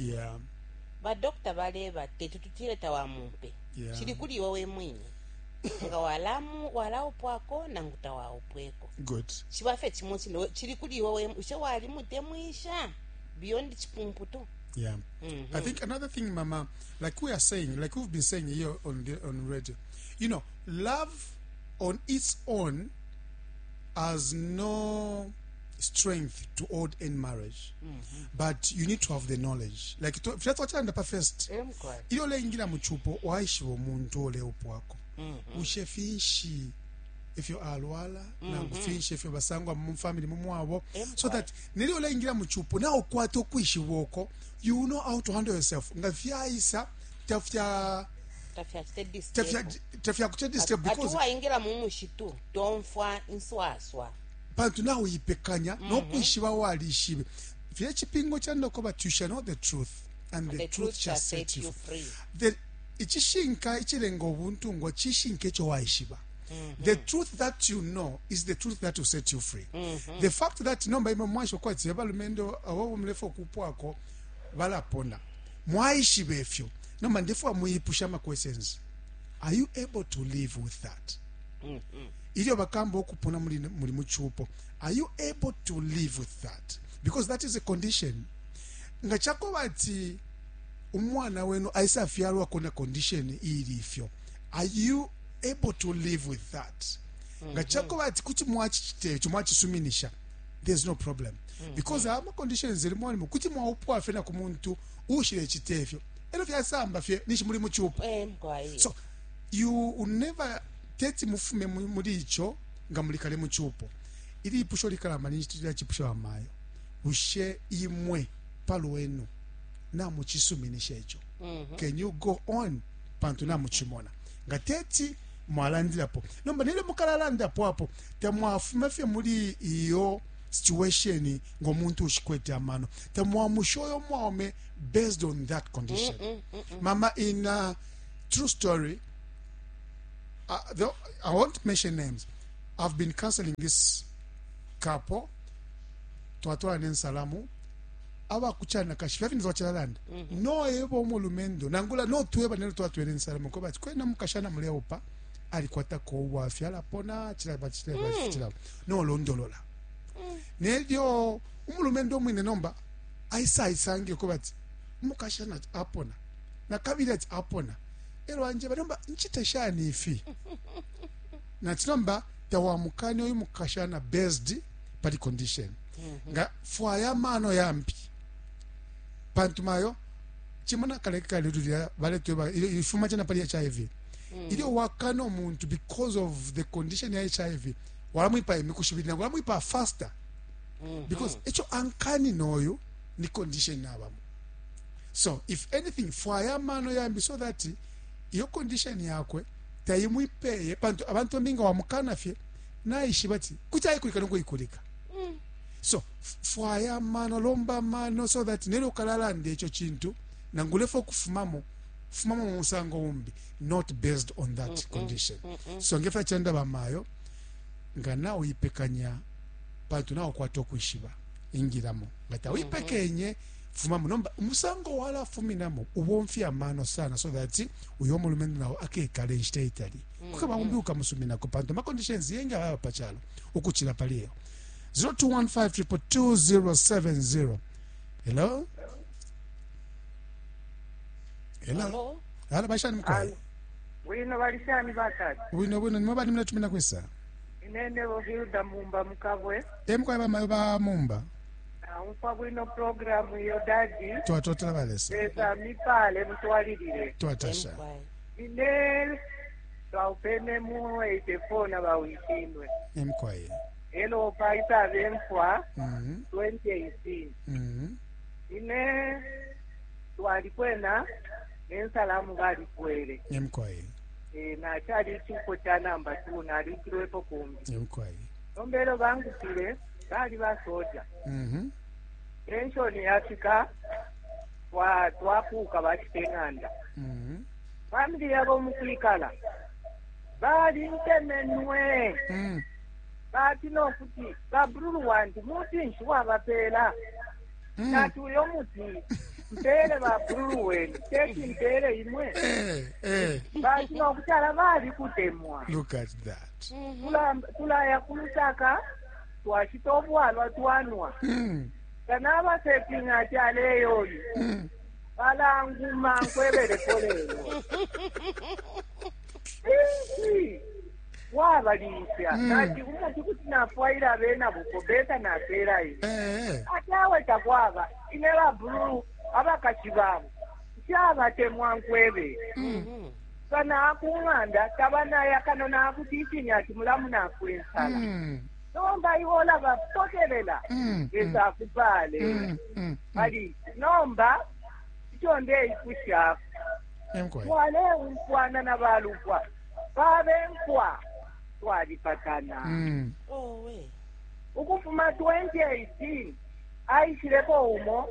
S2: Badokita baleba teti tutile tawamumpe. Chili kuli iwe we mwine nga walamu walaupwako nangu tawaupweko.
S1: Good.
S2: Chibafe chimo chino chili kuli iwe we ushe wali mutemwisha beyond chipumputo.
S1: I think another thing, Mama, like we are saying, like we've been saying here on the on radio, love on its own has no strength to hold in marriage, but you need to have the knowledge. Like fyatwachanda first, ilyo leingira muchupo waishiba omuntu ole upwako ushe finshi ifyo alwala nangu finshi ifyo basangwa mu family mumwabo, so that nilyo leingira muchupo na ukwata okwishiba oko you know how to handle yourself nga fyaisa tafya tafya kuche disturb because
S2: atuwaingira mu mushitu tomfwa inswaswa
S1: pantu nawe uyipekanya nokwishiba walishibe fye chipingo cha ndoko, but you shall know the truth and the truth shall set you
S2: free.
S1: The ichishinka ichilenga obuntungwa chishinka echo waishiba. The truth that you know is the truth that will set you free. The fact that nomba imwe mwaisho kwati abalumendo abo mulefa okupwako balapona mwaishiba efyo nomba ndefwa muyipusha ama questions. Are you able to live with that? Ilyo bakamba okupona muli muchupo, are you able to live with that? Because that is a condition. Nga chako bati umwana wenu aisafyalwa kona condition ili ifyo, are you able to live with that? Nga chako bati kuti mwachichite mwachisuminisha, there's no problem. Because ama conditions zili mwani kuti mwaupwa fena ku muntu ushile chitefyo elo fyasamba fye nishi muli muchupo. So you will never teti mufume muri icho nga mulikale muchupo. Ili ipusho likalama ni chipusho amayo ushe imwe palwenu na muchisuminisha icho. Can you go on pantu na muchimona nga teti Mwalandilapo nomba nelyo mukalalandapo apo tamwafuma fye muli iyo situation ngo muntu ushikwete amano, tamwamusha uyo mwaume based on that condition. Mama, in a true story, I won't mention names, I've been counseling this couple. Twatwala nensalamu abakucana kashi fyafiniza wacilalanda noeba umulumendo nangula notweba nelo twatwele ensalamu ko bati kwena mukashana muleupa alikwatako ubwafya alapona cilaba cilaba cilaba nolondolola nelyo umulumendo umwine nomba aisa aisange ko bati umukashana apona nakabili ati apona elo anjeba nomba ncite shani ifi nati nomba tawamukani uyu mukashana based pali condition nga fwaya amano yambi pantu mayo chimona kale kale lulya baletweba ifuma chena pali HIV ilyo wakana omuntu because of the condition ya HIV walamwipa imiku shibili nangu walamwipa faster because echo ankani noyo ni condition nabamo. So if anything, fwaya amano yambi so that iyo condition yakwe taimwipeye pantu abantu mbinga wamukana fye naishiba ati kuti aikulika nokuikulika. So fwaya amano, lomba amano so that nelyo ukalalanda echo chintu nangulefe okufumamo fumamo mu musango umbi, not based on that condition. So ngefya chanda bamayo nga nauyipekanya pantu naukwata okwishiba ingilamo nga tawipekenye fumamo nomba umusango walafuminamo ubomfya amano sana so that uyo omulumendo nawo akekala enshita itali kukaba umbi ukamusuminako pantu ama conditions yengi ababa pachalo ukuchila pali eyo. 0215 hello, hello.
S2: Hello?
S1: Hala bashani mukwayi?
S7: Bwino, balishani batatu?
S1: Bwino bwino, nimwe bali muletumina kwisa?
S7: Inene Hilda Mumba Mukabwe.
S1: E mukwayi bamayo ba Mumba.
S7: Naumfa bwino programu iyo, daddy.
S1: Twatotela balesa.
S7: Lesa mipale mutwalilile.
S1: Twatasha.
S2: Emkwai.
S7: Ine twaupene mu 84 na bawishinwe.
S1: Emukwayi.
S7: Elo paita bemfwa 2018. Ine twalikwena nensalamu balikwele.
S1: Emukwayi.
S7: E, nachali ichupo cha namba 2 nalikilwepo kumbi.
S1: Emukwayi.
S7: Nombelo bangupile bali basoja. Pension yafika twakuka bachite ng'anda. Family yabo mukwikala balintemenwe. Bati nokuti babululu wandi muti nshi wabapeela? Nati uyo muti mpele babululu wenu teti mpele imwe.
S1: Eh, eh.
S7: Bati nokuti ala bali kutemwa.
S1: Look at that.
S7: Tulaya kulusaka twashita obwalwa twanwa. Kana ati aleyoyi balanguma nkwebeleko lelo insi wabalisya. Nati umuti kuti nafwaila abena buko beta napela ine. Ati awe takwaba ine babululu abakashi babo nshabatemwa nkwebe. Kana kung'anda tabanaya kano nakuti ichinya ati mulamu nafwe ensala. Nomba iwola bapokelela. Lesa akupale. Pali nomba icho ndeipusha
S1: Emukwayi.
S7: twaleumfwana na balupwa babenkwa twalipatana.
S2: Owe.
S7: Ukufuma 2018 aishileko umo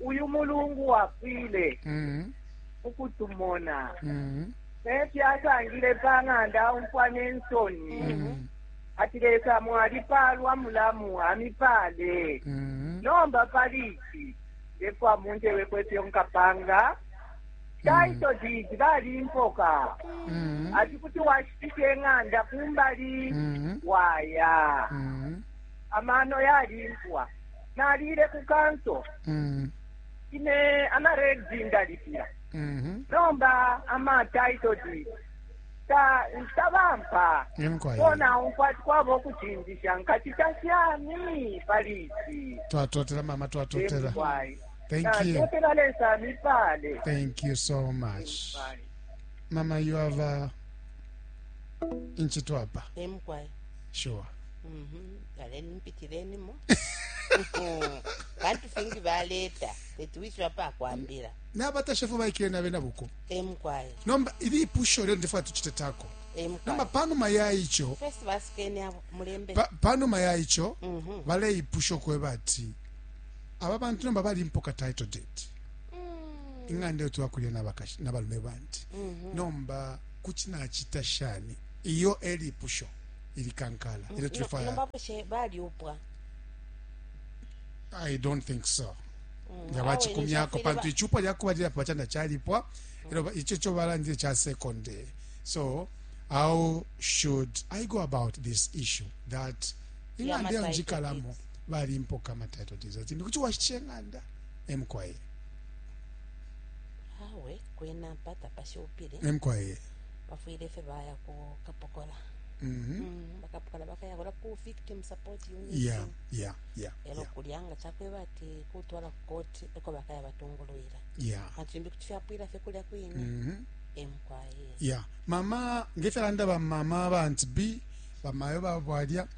S7: uyu mulungu wapwile ukutumona. Nefyo asangile pang'anda umfwa nensoni. Ati lesa mwalipalwa mulamu amipale. Nomba pali ichi ndefwa munjewe kwefyo nkapanga title deed balimpoka. Ati kuti washitisha eng'anda kumbali waya. Amano yalimpwa nalile ku council. Ine ama-rates ndalipira. Nomba ama title deed ta tabampa.
S1: Emukwayi.
S7: Kona umfa kwaba okuchinjisha nkachita shani pali ichi?
S1: Twatotela mama, twatotela.
S7: Emkwai.
S1: Thank you.
S7: Natotela lesa mipale.
S1: Thank you so much. Mama, you have inchitwapa.
S2: Emkwai.
S1: Sure.
S2: Aleni mpitilenimo bantu fingi baleta tetuwishiwa pakwambila.
S1: N'abatashefu baikile nabe nabuko.
S2: Emkwai.
S1: Nomba ili ipusho leo ndifuna tuchite tako.
S2: Eh, mukwai.
S1: Nomba panuma ya ico
S2: First basukeni abo mulembe.
S1: pa, panuma ya ico
S2: Mhm.
S1: baleipusha ukweba ati aba bantu nomba balimpoka title deed
S2: Mm.
S1: ing'anda iyo twakulya nabakashi nabalume bandi
S2: Mhm.
S1: nomba kuti nachita shani iyo elipusho ilikankala ilyo
S2: No-
S1: tulefwaya
S2: Nomba bushe balyupwa.
S1: I don't think so
S2: Mm.
S1: nga
S2: Awe,
S1: bachikumyako
S2: ninshi
S1: pantu
S2: bafwile
S1: ichupa lyakubalilapo bachanda chalipwa elo icho icho balandile cha second so how should I go about this issue that ing'anda
S2: Ya
S1: iyo
S2: ma-title
S1: njikalamo
S2: deeds.
S1: balimpoka ama title deeds ati ndikuti washitisha ing'anda emkwaye
S2: ba- Awe kwena pata pashupile.
S1: emkwaye
S2: Bafwile fye baya ku kapokola.
S1: mhm
S2: Mm, bakapokola bakaya kula ku victim support unit.
S1: yeah yeah yeah
S2: Elo
S1: yeah
S2: kulyanga chakweba ati kutwala ku koti eko bakaya batungulwira.
S1: yeah
S2: Pantu limbi kuti fyapwira fye kulya kwine.
S1: mhm
S2: Emkwaye.
S1: yeah mama ngefyalanda bamama ba aunt B bamayo babwalya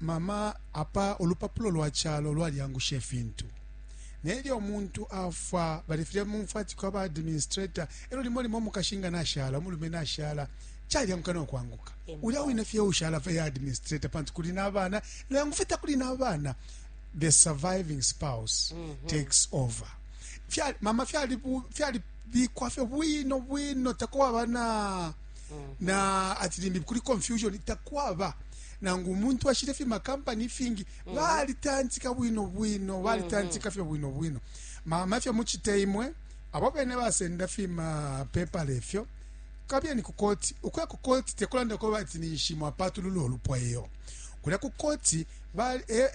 S1: mama apa ulupapulo lwa chalo lwalyangusha ifintu nelyo umuntu afwa balifile mumfwa ati kwaba administrator elo limo limo mukashinga nashala umulume nashala calyanguka nokwanguka ulya wine fye ushala fye administrator pantu kuli nabana nangu fye takuli nabana the surviving spouse mm -hmm. takes over Fya, mama fyalibikwa fye bwino bwino takwaba na mm -hmm. na ati limbi kuli confusion takwaba nangu umuntu ashile fye makampani ifingi mm -hmm. balitantika bwino bwino balitantika mm -hmm. fye bwino bwino mama fye muchite imwe abo bene basenda fye mapepala efyo kabiyeni ku koti ukuya ku koti tekulanda ko bati ninshi mwapatulula olupwa iyo kulya ku koti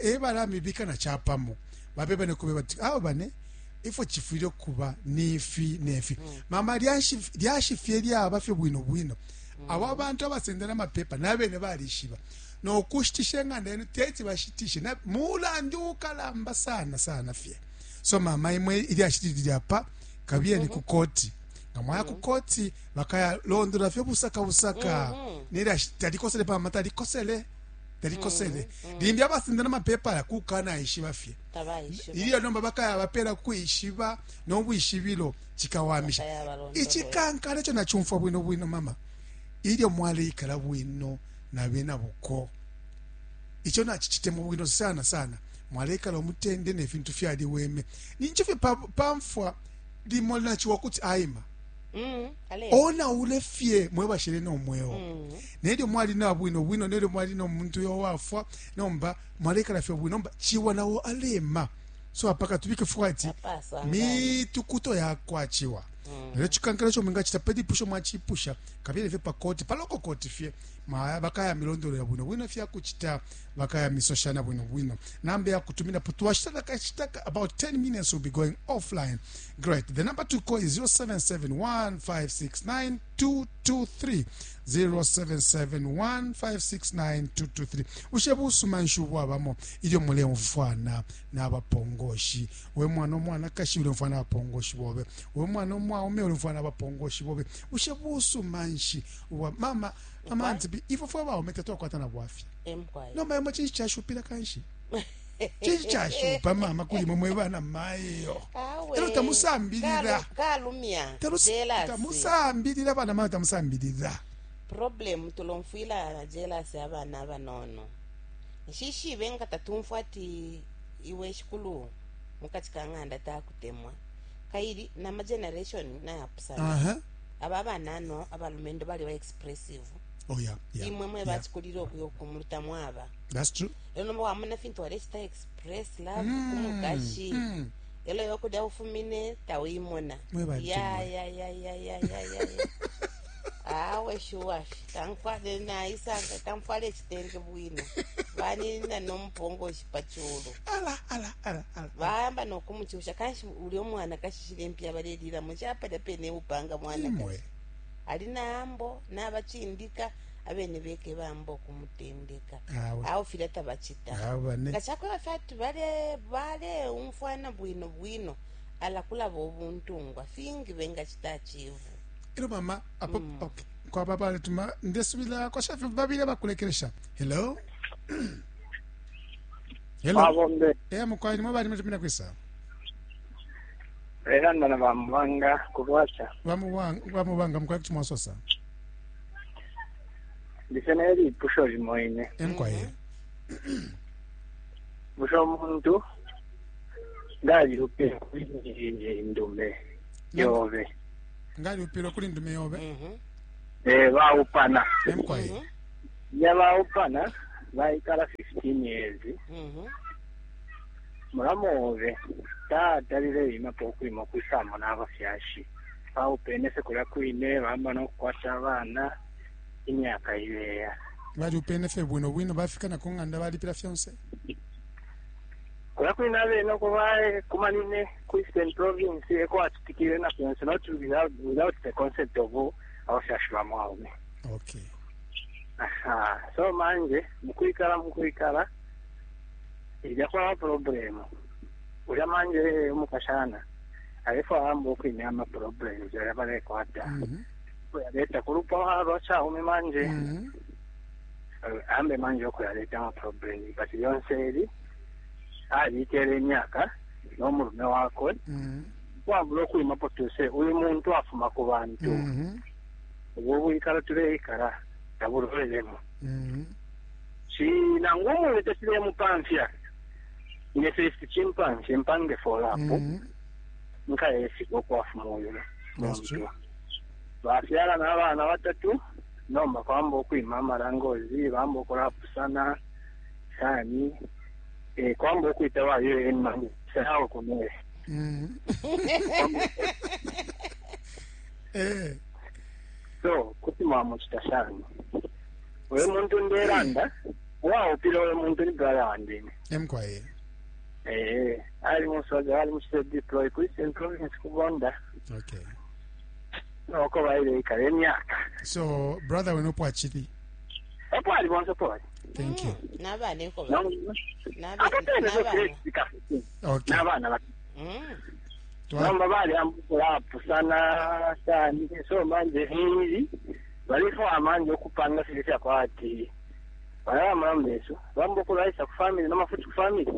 S1: ebalamibika na chapamo babeba nekube bati abo bane ifo chifwile kuba nifi nefi mm. mama lyashi fye lyaba fye bwino bwino mm. abo abantu abasenda namapepa nabene balishiba nokushitisha eng'anda yenu teti bashitishe mulandu ukalamba sana sana fye so mama imwe ilyashi lyapa kabiyeni mm -hmm. ku koti nga mwaya ku koti bakayalondola fye busaka busaka mm -hmm. nelyashi talikosele pamama talikosele talikosele mm -hmm. limbi abasenda namapepa kukanaishiba fye ilyo nomba bakaya bapela kwishiba nobwishibilo chikawamisha ichikankala icho nachumfwa bwino bwino mama ilyo mwaleikala bwino nabena buko icho nachichitemo bwino sana sana mwaleikala omutende nefintu fyaliweme nincho fye pamfwa limo linachiwa kuti aima
S2: Mm,
S1: onaule fye mwebashele nomweo mm. nelyo mwali na bwino bwino nelyo mwali nomuntu uyo wafwa nomba mwalekala fye bwino nomba chiwa nawo alema so apaka tubike fwati mitukuto yakwa chiwa mm. lelo chikankala cho mwingachita pedipusho mwachipusha kabili fye pakoti paloko koti fye bakaya milondolo ya bwino bwino fyakuchita bakaya misoshana bwino bwino namba ya kutumina putuwashita kachita about 10 minutes will be going offline great the number to call is 0771569223 0771569223 ushe busuma nshu bwabamo ilyo mulemfwana n'abapongoshi we mwana omwana kashi ulemfwana abapongoshi bobe we mwana omwaume ulemfwana abapongoshi bobe ushe busuma nshi wa mama mama auntie ifo fwe baume tetwakwata na bwafya nomba imwe chinshi chashupila kanshi chinshi chashupa mama kuli imwe mwe bana mayo elo tamusambilila
S2: kalumya
S1: tamusambilila bana mayo tamusambilila
S2: problem tulomfwila jealous abana abanono nshishibe nga tatumfwa ati iwe shikulu mukati ka ng'anda takutemwa kaili nama generation nayapusana
S1: uh -huh.
S2: aba banano abalumendo bali ba expressive
S1: oh yeah, yeah
S2: imwe mwe bachikulira okuya okumuluta mwaba
S1: that's true
S2: lero nomba wamona fintu walechita express love mm. kumukashi mm. elo yokulya ufumine tawimona ya ya ya ya ya ya ya awe shuwafi tankwale naisanga tamfwale echitenge bwino vanina nomupongoshi pachulu
S1: ala ala ala ala
S2: vayamba nokumuchusha kanshi uli omwana kashishile mpya balelilamo chapalya pene upanga mwana kashi ali naambo nabachindika abene beke bamba okumutendeka awo filya tabachita nga chakweba fyati bale bale umfwana bwino bwino ala kulaba obuntungwa fingi bengachita achivu
S1: ilo mama apo mm. okay kwaba baletuma ndesubila kwashafi babili abakulekelesha hello hello
S8: Abombe.
S1: eh mukwai nimwe bali mutumina kwisa
S8: Era ndana bamubanga kulwacha.
S1: Bamubanga mukwai kuti mwasosa.
S5: Ndise nelipusho limo ine.
S1: Emkwaye.
S5: Bushe umuntu ngalyupile kuli ndume yobe?
S1: Ngalyupile kuli ndume yobe?
S2: Mhm.
S5: Eh, baupana.
S1: Emkwaye.
S2: Mhm.
S5: Ya baupana baikala 15 years.
S2: Mhm.
S5: Mulamu obe tatalile imapo okwima okwisamo n'abafyashi. Baupene se kulya kwine bamba nokukwata abana imyaka ileya.
S1: Balyupene fye bwino bwino bafika na ku ng'anda balipila fyonse.
S5: Kulya kwine abene uko bakumanine ku Eastern Province eko acitikile na fyonse not without, without the consent of abafyashi ba mwaume.
S1: Okay.
S5: Aha, so manje mukwikala mukwikala ilya kwaba problem ulya manje umukashana alefwaya amba okwimya ama problems aya balekwata kuyaleta kulupwa lwa chaume manje ambe manje okuyaleta ama problems but yonse eli alikele imyaka n'omulume wakwe wabula okwimapo tuse uyu muntu afuma ku bantu obwo bwikala tuleikala tabulolelemo nangu umwine tecilemupamfya ine first chimpamfye mpange follow up nkayefika okwafuma uyu
S1: That's true.
S5: muntu bafyala n'abaana batatu nomba kwamba okwima amalangozi bamba okulapusana shani eh, kwamba okwita wayo enmanyi sawo kumere
S1: Eh.
S5: So kuti mwamuchita shani uyu muntu ndelanda waupile uyu muntu ni brother wandine
S1: Emkwaye.
S5: eh ali musoja ali muchite deploy ku Eastern Province kubonda
S1: Okay.
S5: noko baileikala emyaka
S1: So brother wenu pwachili.
S5: epo ali bonse poli
S1: Thank you.
S2: N'abaana eko
S5: apo pene
S2: n'abaana.
S1: Okay.
S5: n'abaana bato
S2: Mm.
S5: nomba bali ambulapusana shani so manje hili balifo manje okupanga sili syakwati balabamambeso bamba okulaisa ku family namafuti ku family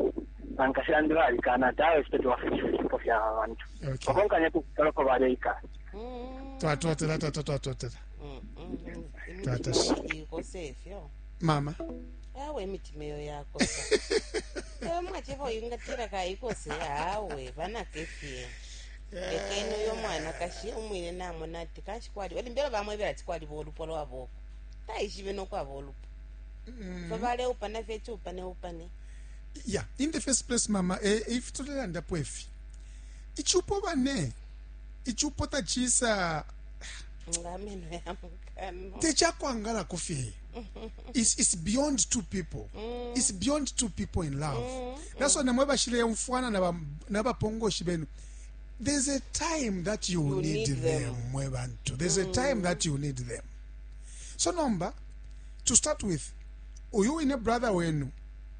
S5: bankashandi balikana tawe sitati wafutifo fya bantu
S1: Okay.
S5: bakonkanya kukalako baleikala
S2: Mm.
S1: Twatotela twatotela.
S2: Mm, mm.
S1: Tata.
S2: Imitima ikose ifyo.
S1: Mama.
S2: Awe imitima eyo yakosa. Ewe mwachevo ingatira kaikose awe vanakefye. Lekeni uyo mwana kashi umwine namona ati kashi kwali walimbela vamwevela ati kwali volupo lwavoko. Taishive nokwava olupo. Fa upana fye chiupane upane.
S1: Yeah, in the first place mama, eh, if tulelandapo ifi. Ichupo bane. Ichupo tachisa
S2: Ngameno ya mukano.
S1: techakwangala fye. It's beyond two people. It's beyond two people in love. That's why namwe bashile mfwana na nabapongoshi benu. There's a time that you,
S2: You
S1: need,
S2: need
S1: them,
S2: them.
S1: mwe bantu. There's a time that you need them. So nomba to start with uyu wine brother wenu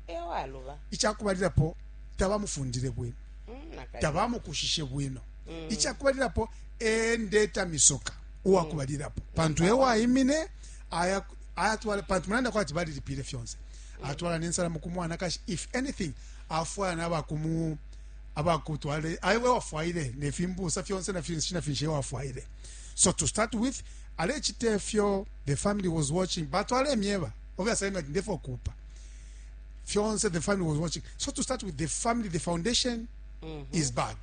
S2: Ewaluva.
S1: ichakubalilapo tabamufundile bwino
S2: Mm, nakali.
S1: tabamukushishe bwino ichakubalilapo endeta misoka uwakubalilapo pantu ewaimine aya ayatwala pantu mulanda kwati balilipile fyonse atwala nensalamu kumwana kashi if anything afwaya nabakumu abakutwale aiwe wafwaile nefimbusa fyonse na finshi na finshi wafwaile. So to start with alechite fyo the family was watching but alemyeba obviously I'm ndefo kupa fyonse the family was watching. So to start with the family, the foundation is bad.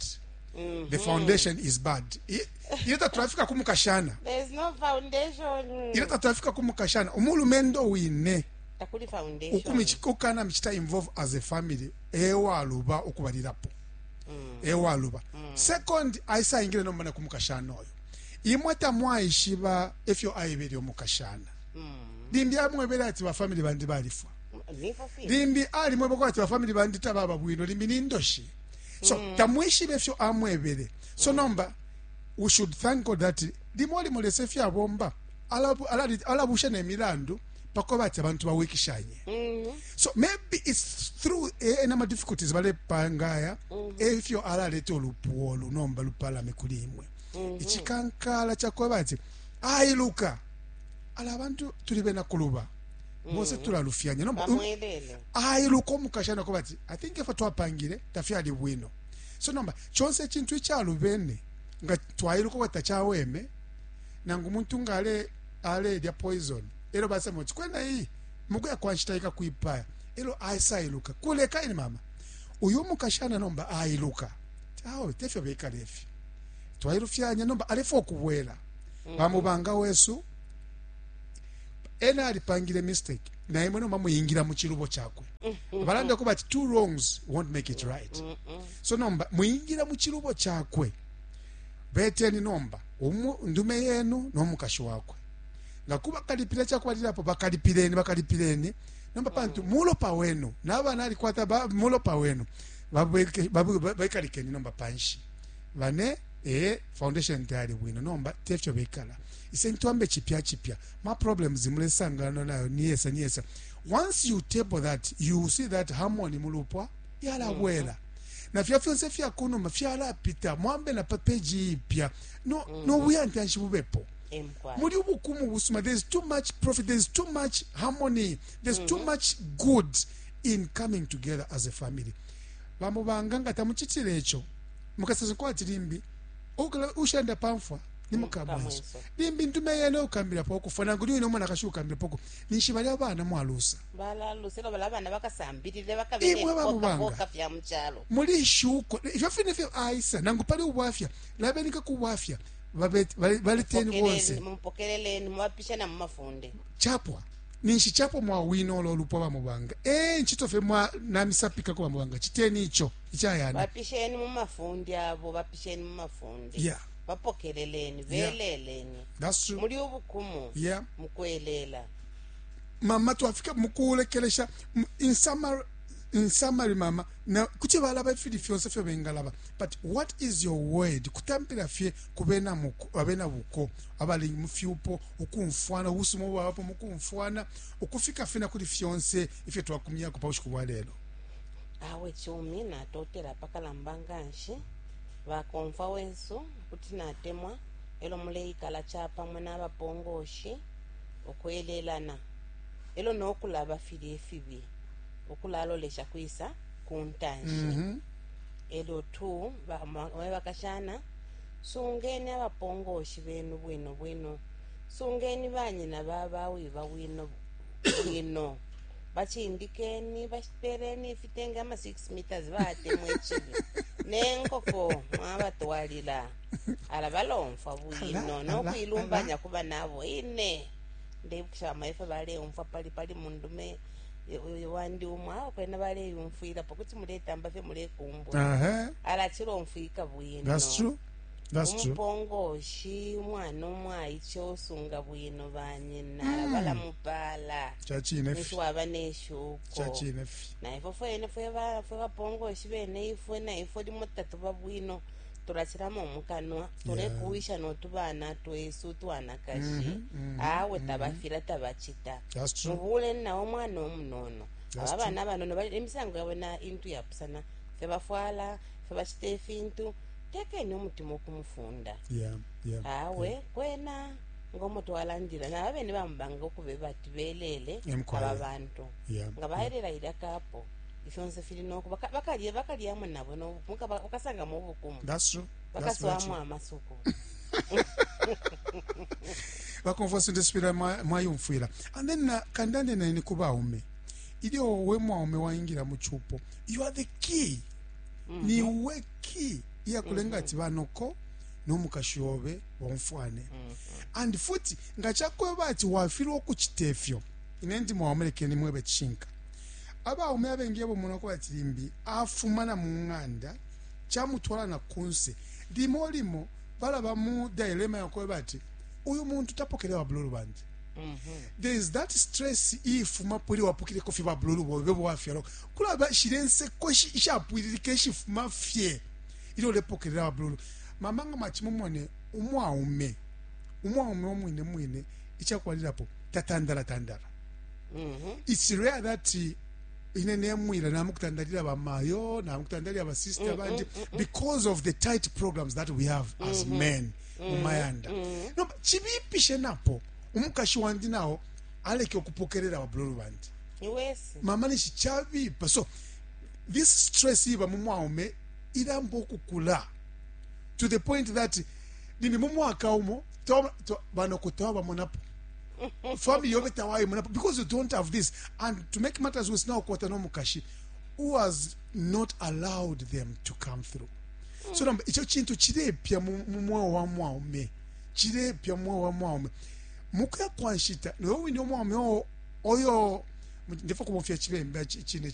S1: The foundation is bad. Ile tatwafika kumukashana.
S2: There's no foundation.
S1: Ile tatwafika kumukashana umulumendo wine
S2: Takuli foundation.
S1: ukana michita involve as a family ewaluba ukubalilapo ewaluba. Second, aisa ingile nomba na kumukashana oyo imwe tamwaishiba efyo aibele omukashana limbi amwebele ati bafamily bandi balifwa
S2: Nifo fi.
S1: limbi alimwebeko ati bafamily bandi tababa bwino limbi nindoshi so tamwishibe efyo amwebele. So nomba we should thank God that limo limo lese fyabomba alabusha nemilandu pako bati abantu bawikishanye. So maybe it's through enama difficulties balepangaya efyo alaleta olupuwo olu nomba lupalame kuli imwe ichikankala chakuba ati ailuka ala abantu tuli bena kuluba bose tulalufyanya nomba
S2: Bamwelele.
S1: ailuka omukashana kuba ati I think efo twapangile tafyali bwino. So nomba chonse echintu echalubene nga twailuka kwati tachaweme nangu umuntu nga ale alelya poison. Elo basema kuti kwena iyi mukuya kwa nshita ikakwipaya. Elo aisailuka kuleka ini mama uyu mukashana nomba ailuka awe tefyo bekala ifi twailufyanya nomba alefwa ukubwela mm. Bamubanga wesu ena alipangile mistake na imwe nomba muyingira mu chilubo chakwe. Balanda kuba ati two wrongs won't make it right. So nomba muyingira mu chilubo chakwe, beteni nomba umu ndume yenu no mukashi wakwe nga kuba kalipila chakubalilapo, bakalipileni, bakalipileni nomba pantu mulopa wenu nabana alikwata mulopa wenu. Bekalikeni nomba panshi bane foundation tayali bwino nomba tefyo bekala ise ntwambe chipya chipya ma problems mulesangana nayo niyesa niyesa. Once you table that, you see that harmony mulupwa yalabwela na fya fyonse fya kunuma fyalapita, mwambe na pa page ipya no no buyantanshi bubepo muli ubukumu busuma. There's too much profit, there's too much harmony, there's too much good in coming together as a family. Bamubanga nga tamuchitile icho mukasasa kwati limbi ushanda pamfwa ni mukamwenso limbi ntume yene ukambila po kufa nangu ni umwana kashuka poko ninshi bali abana mwalusa
S2: balalusa elo bala abana bakasambilile bakabele
S1: Imwe bamubanga.
S2: Boka fya muchalo.
S1: Muli shuko ifyo fine fyo aisa nangu pali ubwafya labenika ku bwafya baleteni bonse.
S2: Mupokeleleni, mubapisha na mumafunde.
S1: Chapwa ninshi chapwa mwawina olo olupwa bamubanga nchito fye mwa namisapika ku bamubanga chiteni icho ichayana.
S2: Bapisheni mumafundi abo, bapisheni mumafundi. Bapokeleleni, beleleni.
S1: That's true.
S2: Muli ubukumu mukwelela.
S1: Mama twafika mukulekelesha in summary, in summary mama na kuti balaba ifili fyonse fyo bengalaba, but what is your word kutampila fye kubena muko abena buko abali mufyupo ukumfwana ubusuma bwapo mukumfwana ukufika fina kuli fyonse ifyo twakumyako pa bushiku bwa lelo?
S2: Awe chumi natotela pakalamba nganshi bakomfa wensu kuti natemwa elo muleikala chapamwe n'abapongoshi okwelelana elo nokulaba fili efibi okulalolesha kwisa kuntanshi. Elo tu mwe bakashana sungeni abapongoshi benu bwino bwino, sungeni banyina babawiba bwino bwino, bachindikeni, bapereni ifitenge ama 6 meters batemwa echibi nenkoko mwabatwalila ala balomfwa bwino nokuilumbanya kuba nabo ine ndebukisha amaife baleumfwa pali pali mundume wandi umwe awo kwena baleyumfwilapo kuti muletamba fye mulekumbwa ala chilomfwika bwino.
S1: That's true. That's true.
S2: Umupongoshi umwana umwaiche osunga bwino banyina ala balamupala
S1: Chachine
S2: ninshi waba neshuko.
S1: Chachine fi.
S2: Naifwe fwene fwe bapongoshi bene ifwe naifwe limo tatuba bwino tulachilamo mukanwa tulekuwisha notubana twesu twanakashi awe tabafila tabachita.
S1: That's true.
S2: Mubule nawo mwana omunono
S1: That's
S2: aba bana abanono bali emisango yabo na intu yapusana fye bafwala fye bachita efintu tekeni omutima okumufunda. Awe kwena ngomo twalandila na abene bamubanga okube bati belele
S1: Emkwaya.
S2: aba bantu nga baelela ilya kapo ifyonse fili noku bakalya bakalyamo nabo bakasangamo obukumu.
S1: That's true. That's very
S2: bakaswamo
S1: true.
S2: amasuku.
S1: Bakomfwa sindesipila mwayumfwila and then na kandande nani ku baume ilyo we mwaume waingira mu chupo, you are the key. Ni we key iyakulenga ati banoko n'omukashi obe bomfwane and futi nga kyakweba ati wafilwa okuchita efyo ine ndi mwaume lekeni mwebe chinka abaume abengi abo muno kuba ati limbi afuma na mu ng'anda chamutwala na kunse limo limo balaba mu dilemma yakweba ati uyu muntu tapokelewa bululu bandi. There is that stress ifuma puli wapukileko fye babululu bobe bwafyalo kulaba shilenseko ishapwililika ishifuma fye ilyo ulepokelela babululu. Mama nga mwachimumone umwaume umwaume omwine mwine ichakwalilapo tatandala tandala. It's rare that ine nemwila namukutandalila bamayo namukutandalila basista bandi because of the tight programs that we have as men mumayanda. No, chibipishe napo umukashi wandi nawo aleke okupokelela babululu bandi.
S2: Iwesi
S1: mama nishi chabipa. So this stress iba mumwaume ilamba okukula to the point that limbi mumwaka umo banokutawa bamonapo. Family yobe tawaimona because you don't have this. And to make matters worse, now kwata no mukashi who has not allowed them to come through. So namba icho chintu chilepya mu mweo wa mwaume, chilepya mu mweo wa mwaume mukuya kwa nshita. Noyo wine umwaume oyo ndefa kubomfya chibemba chine.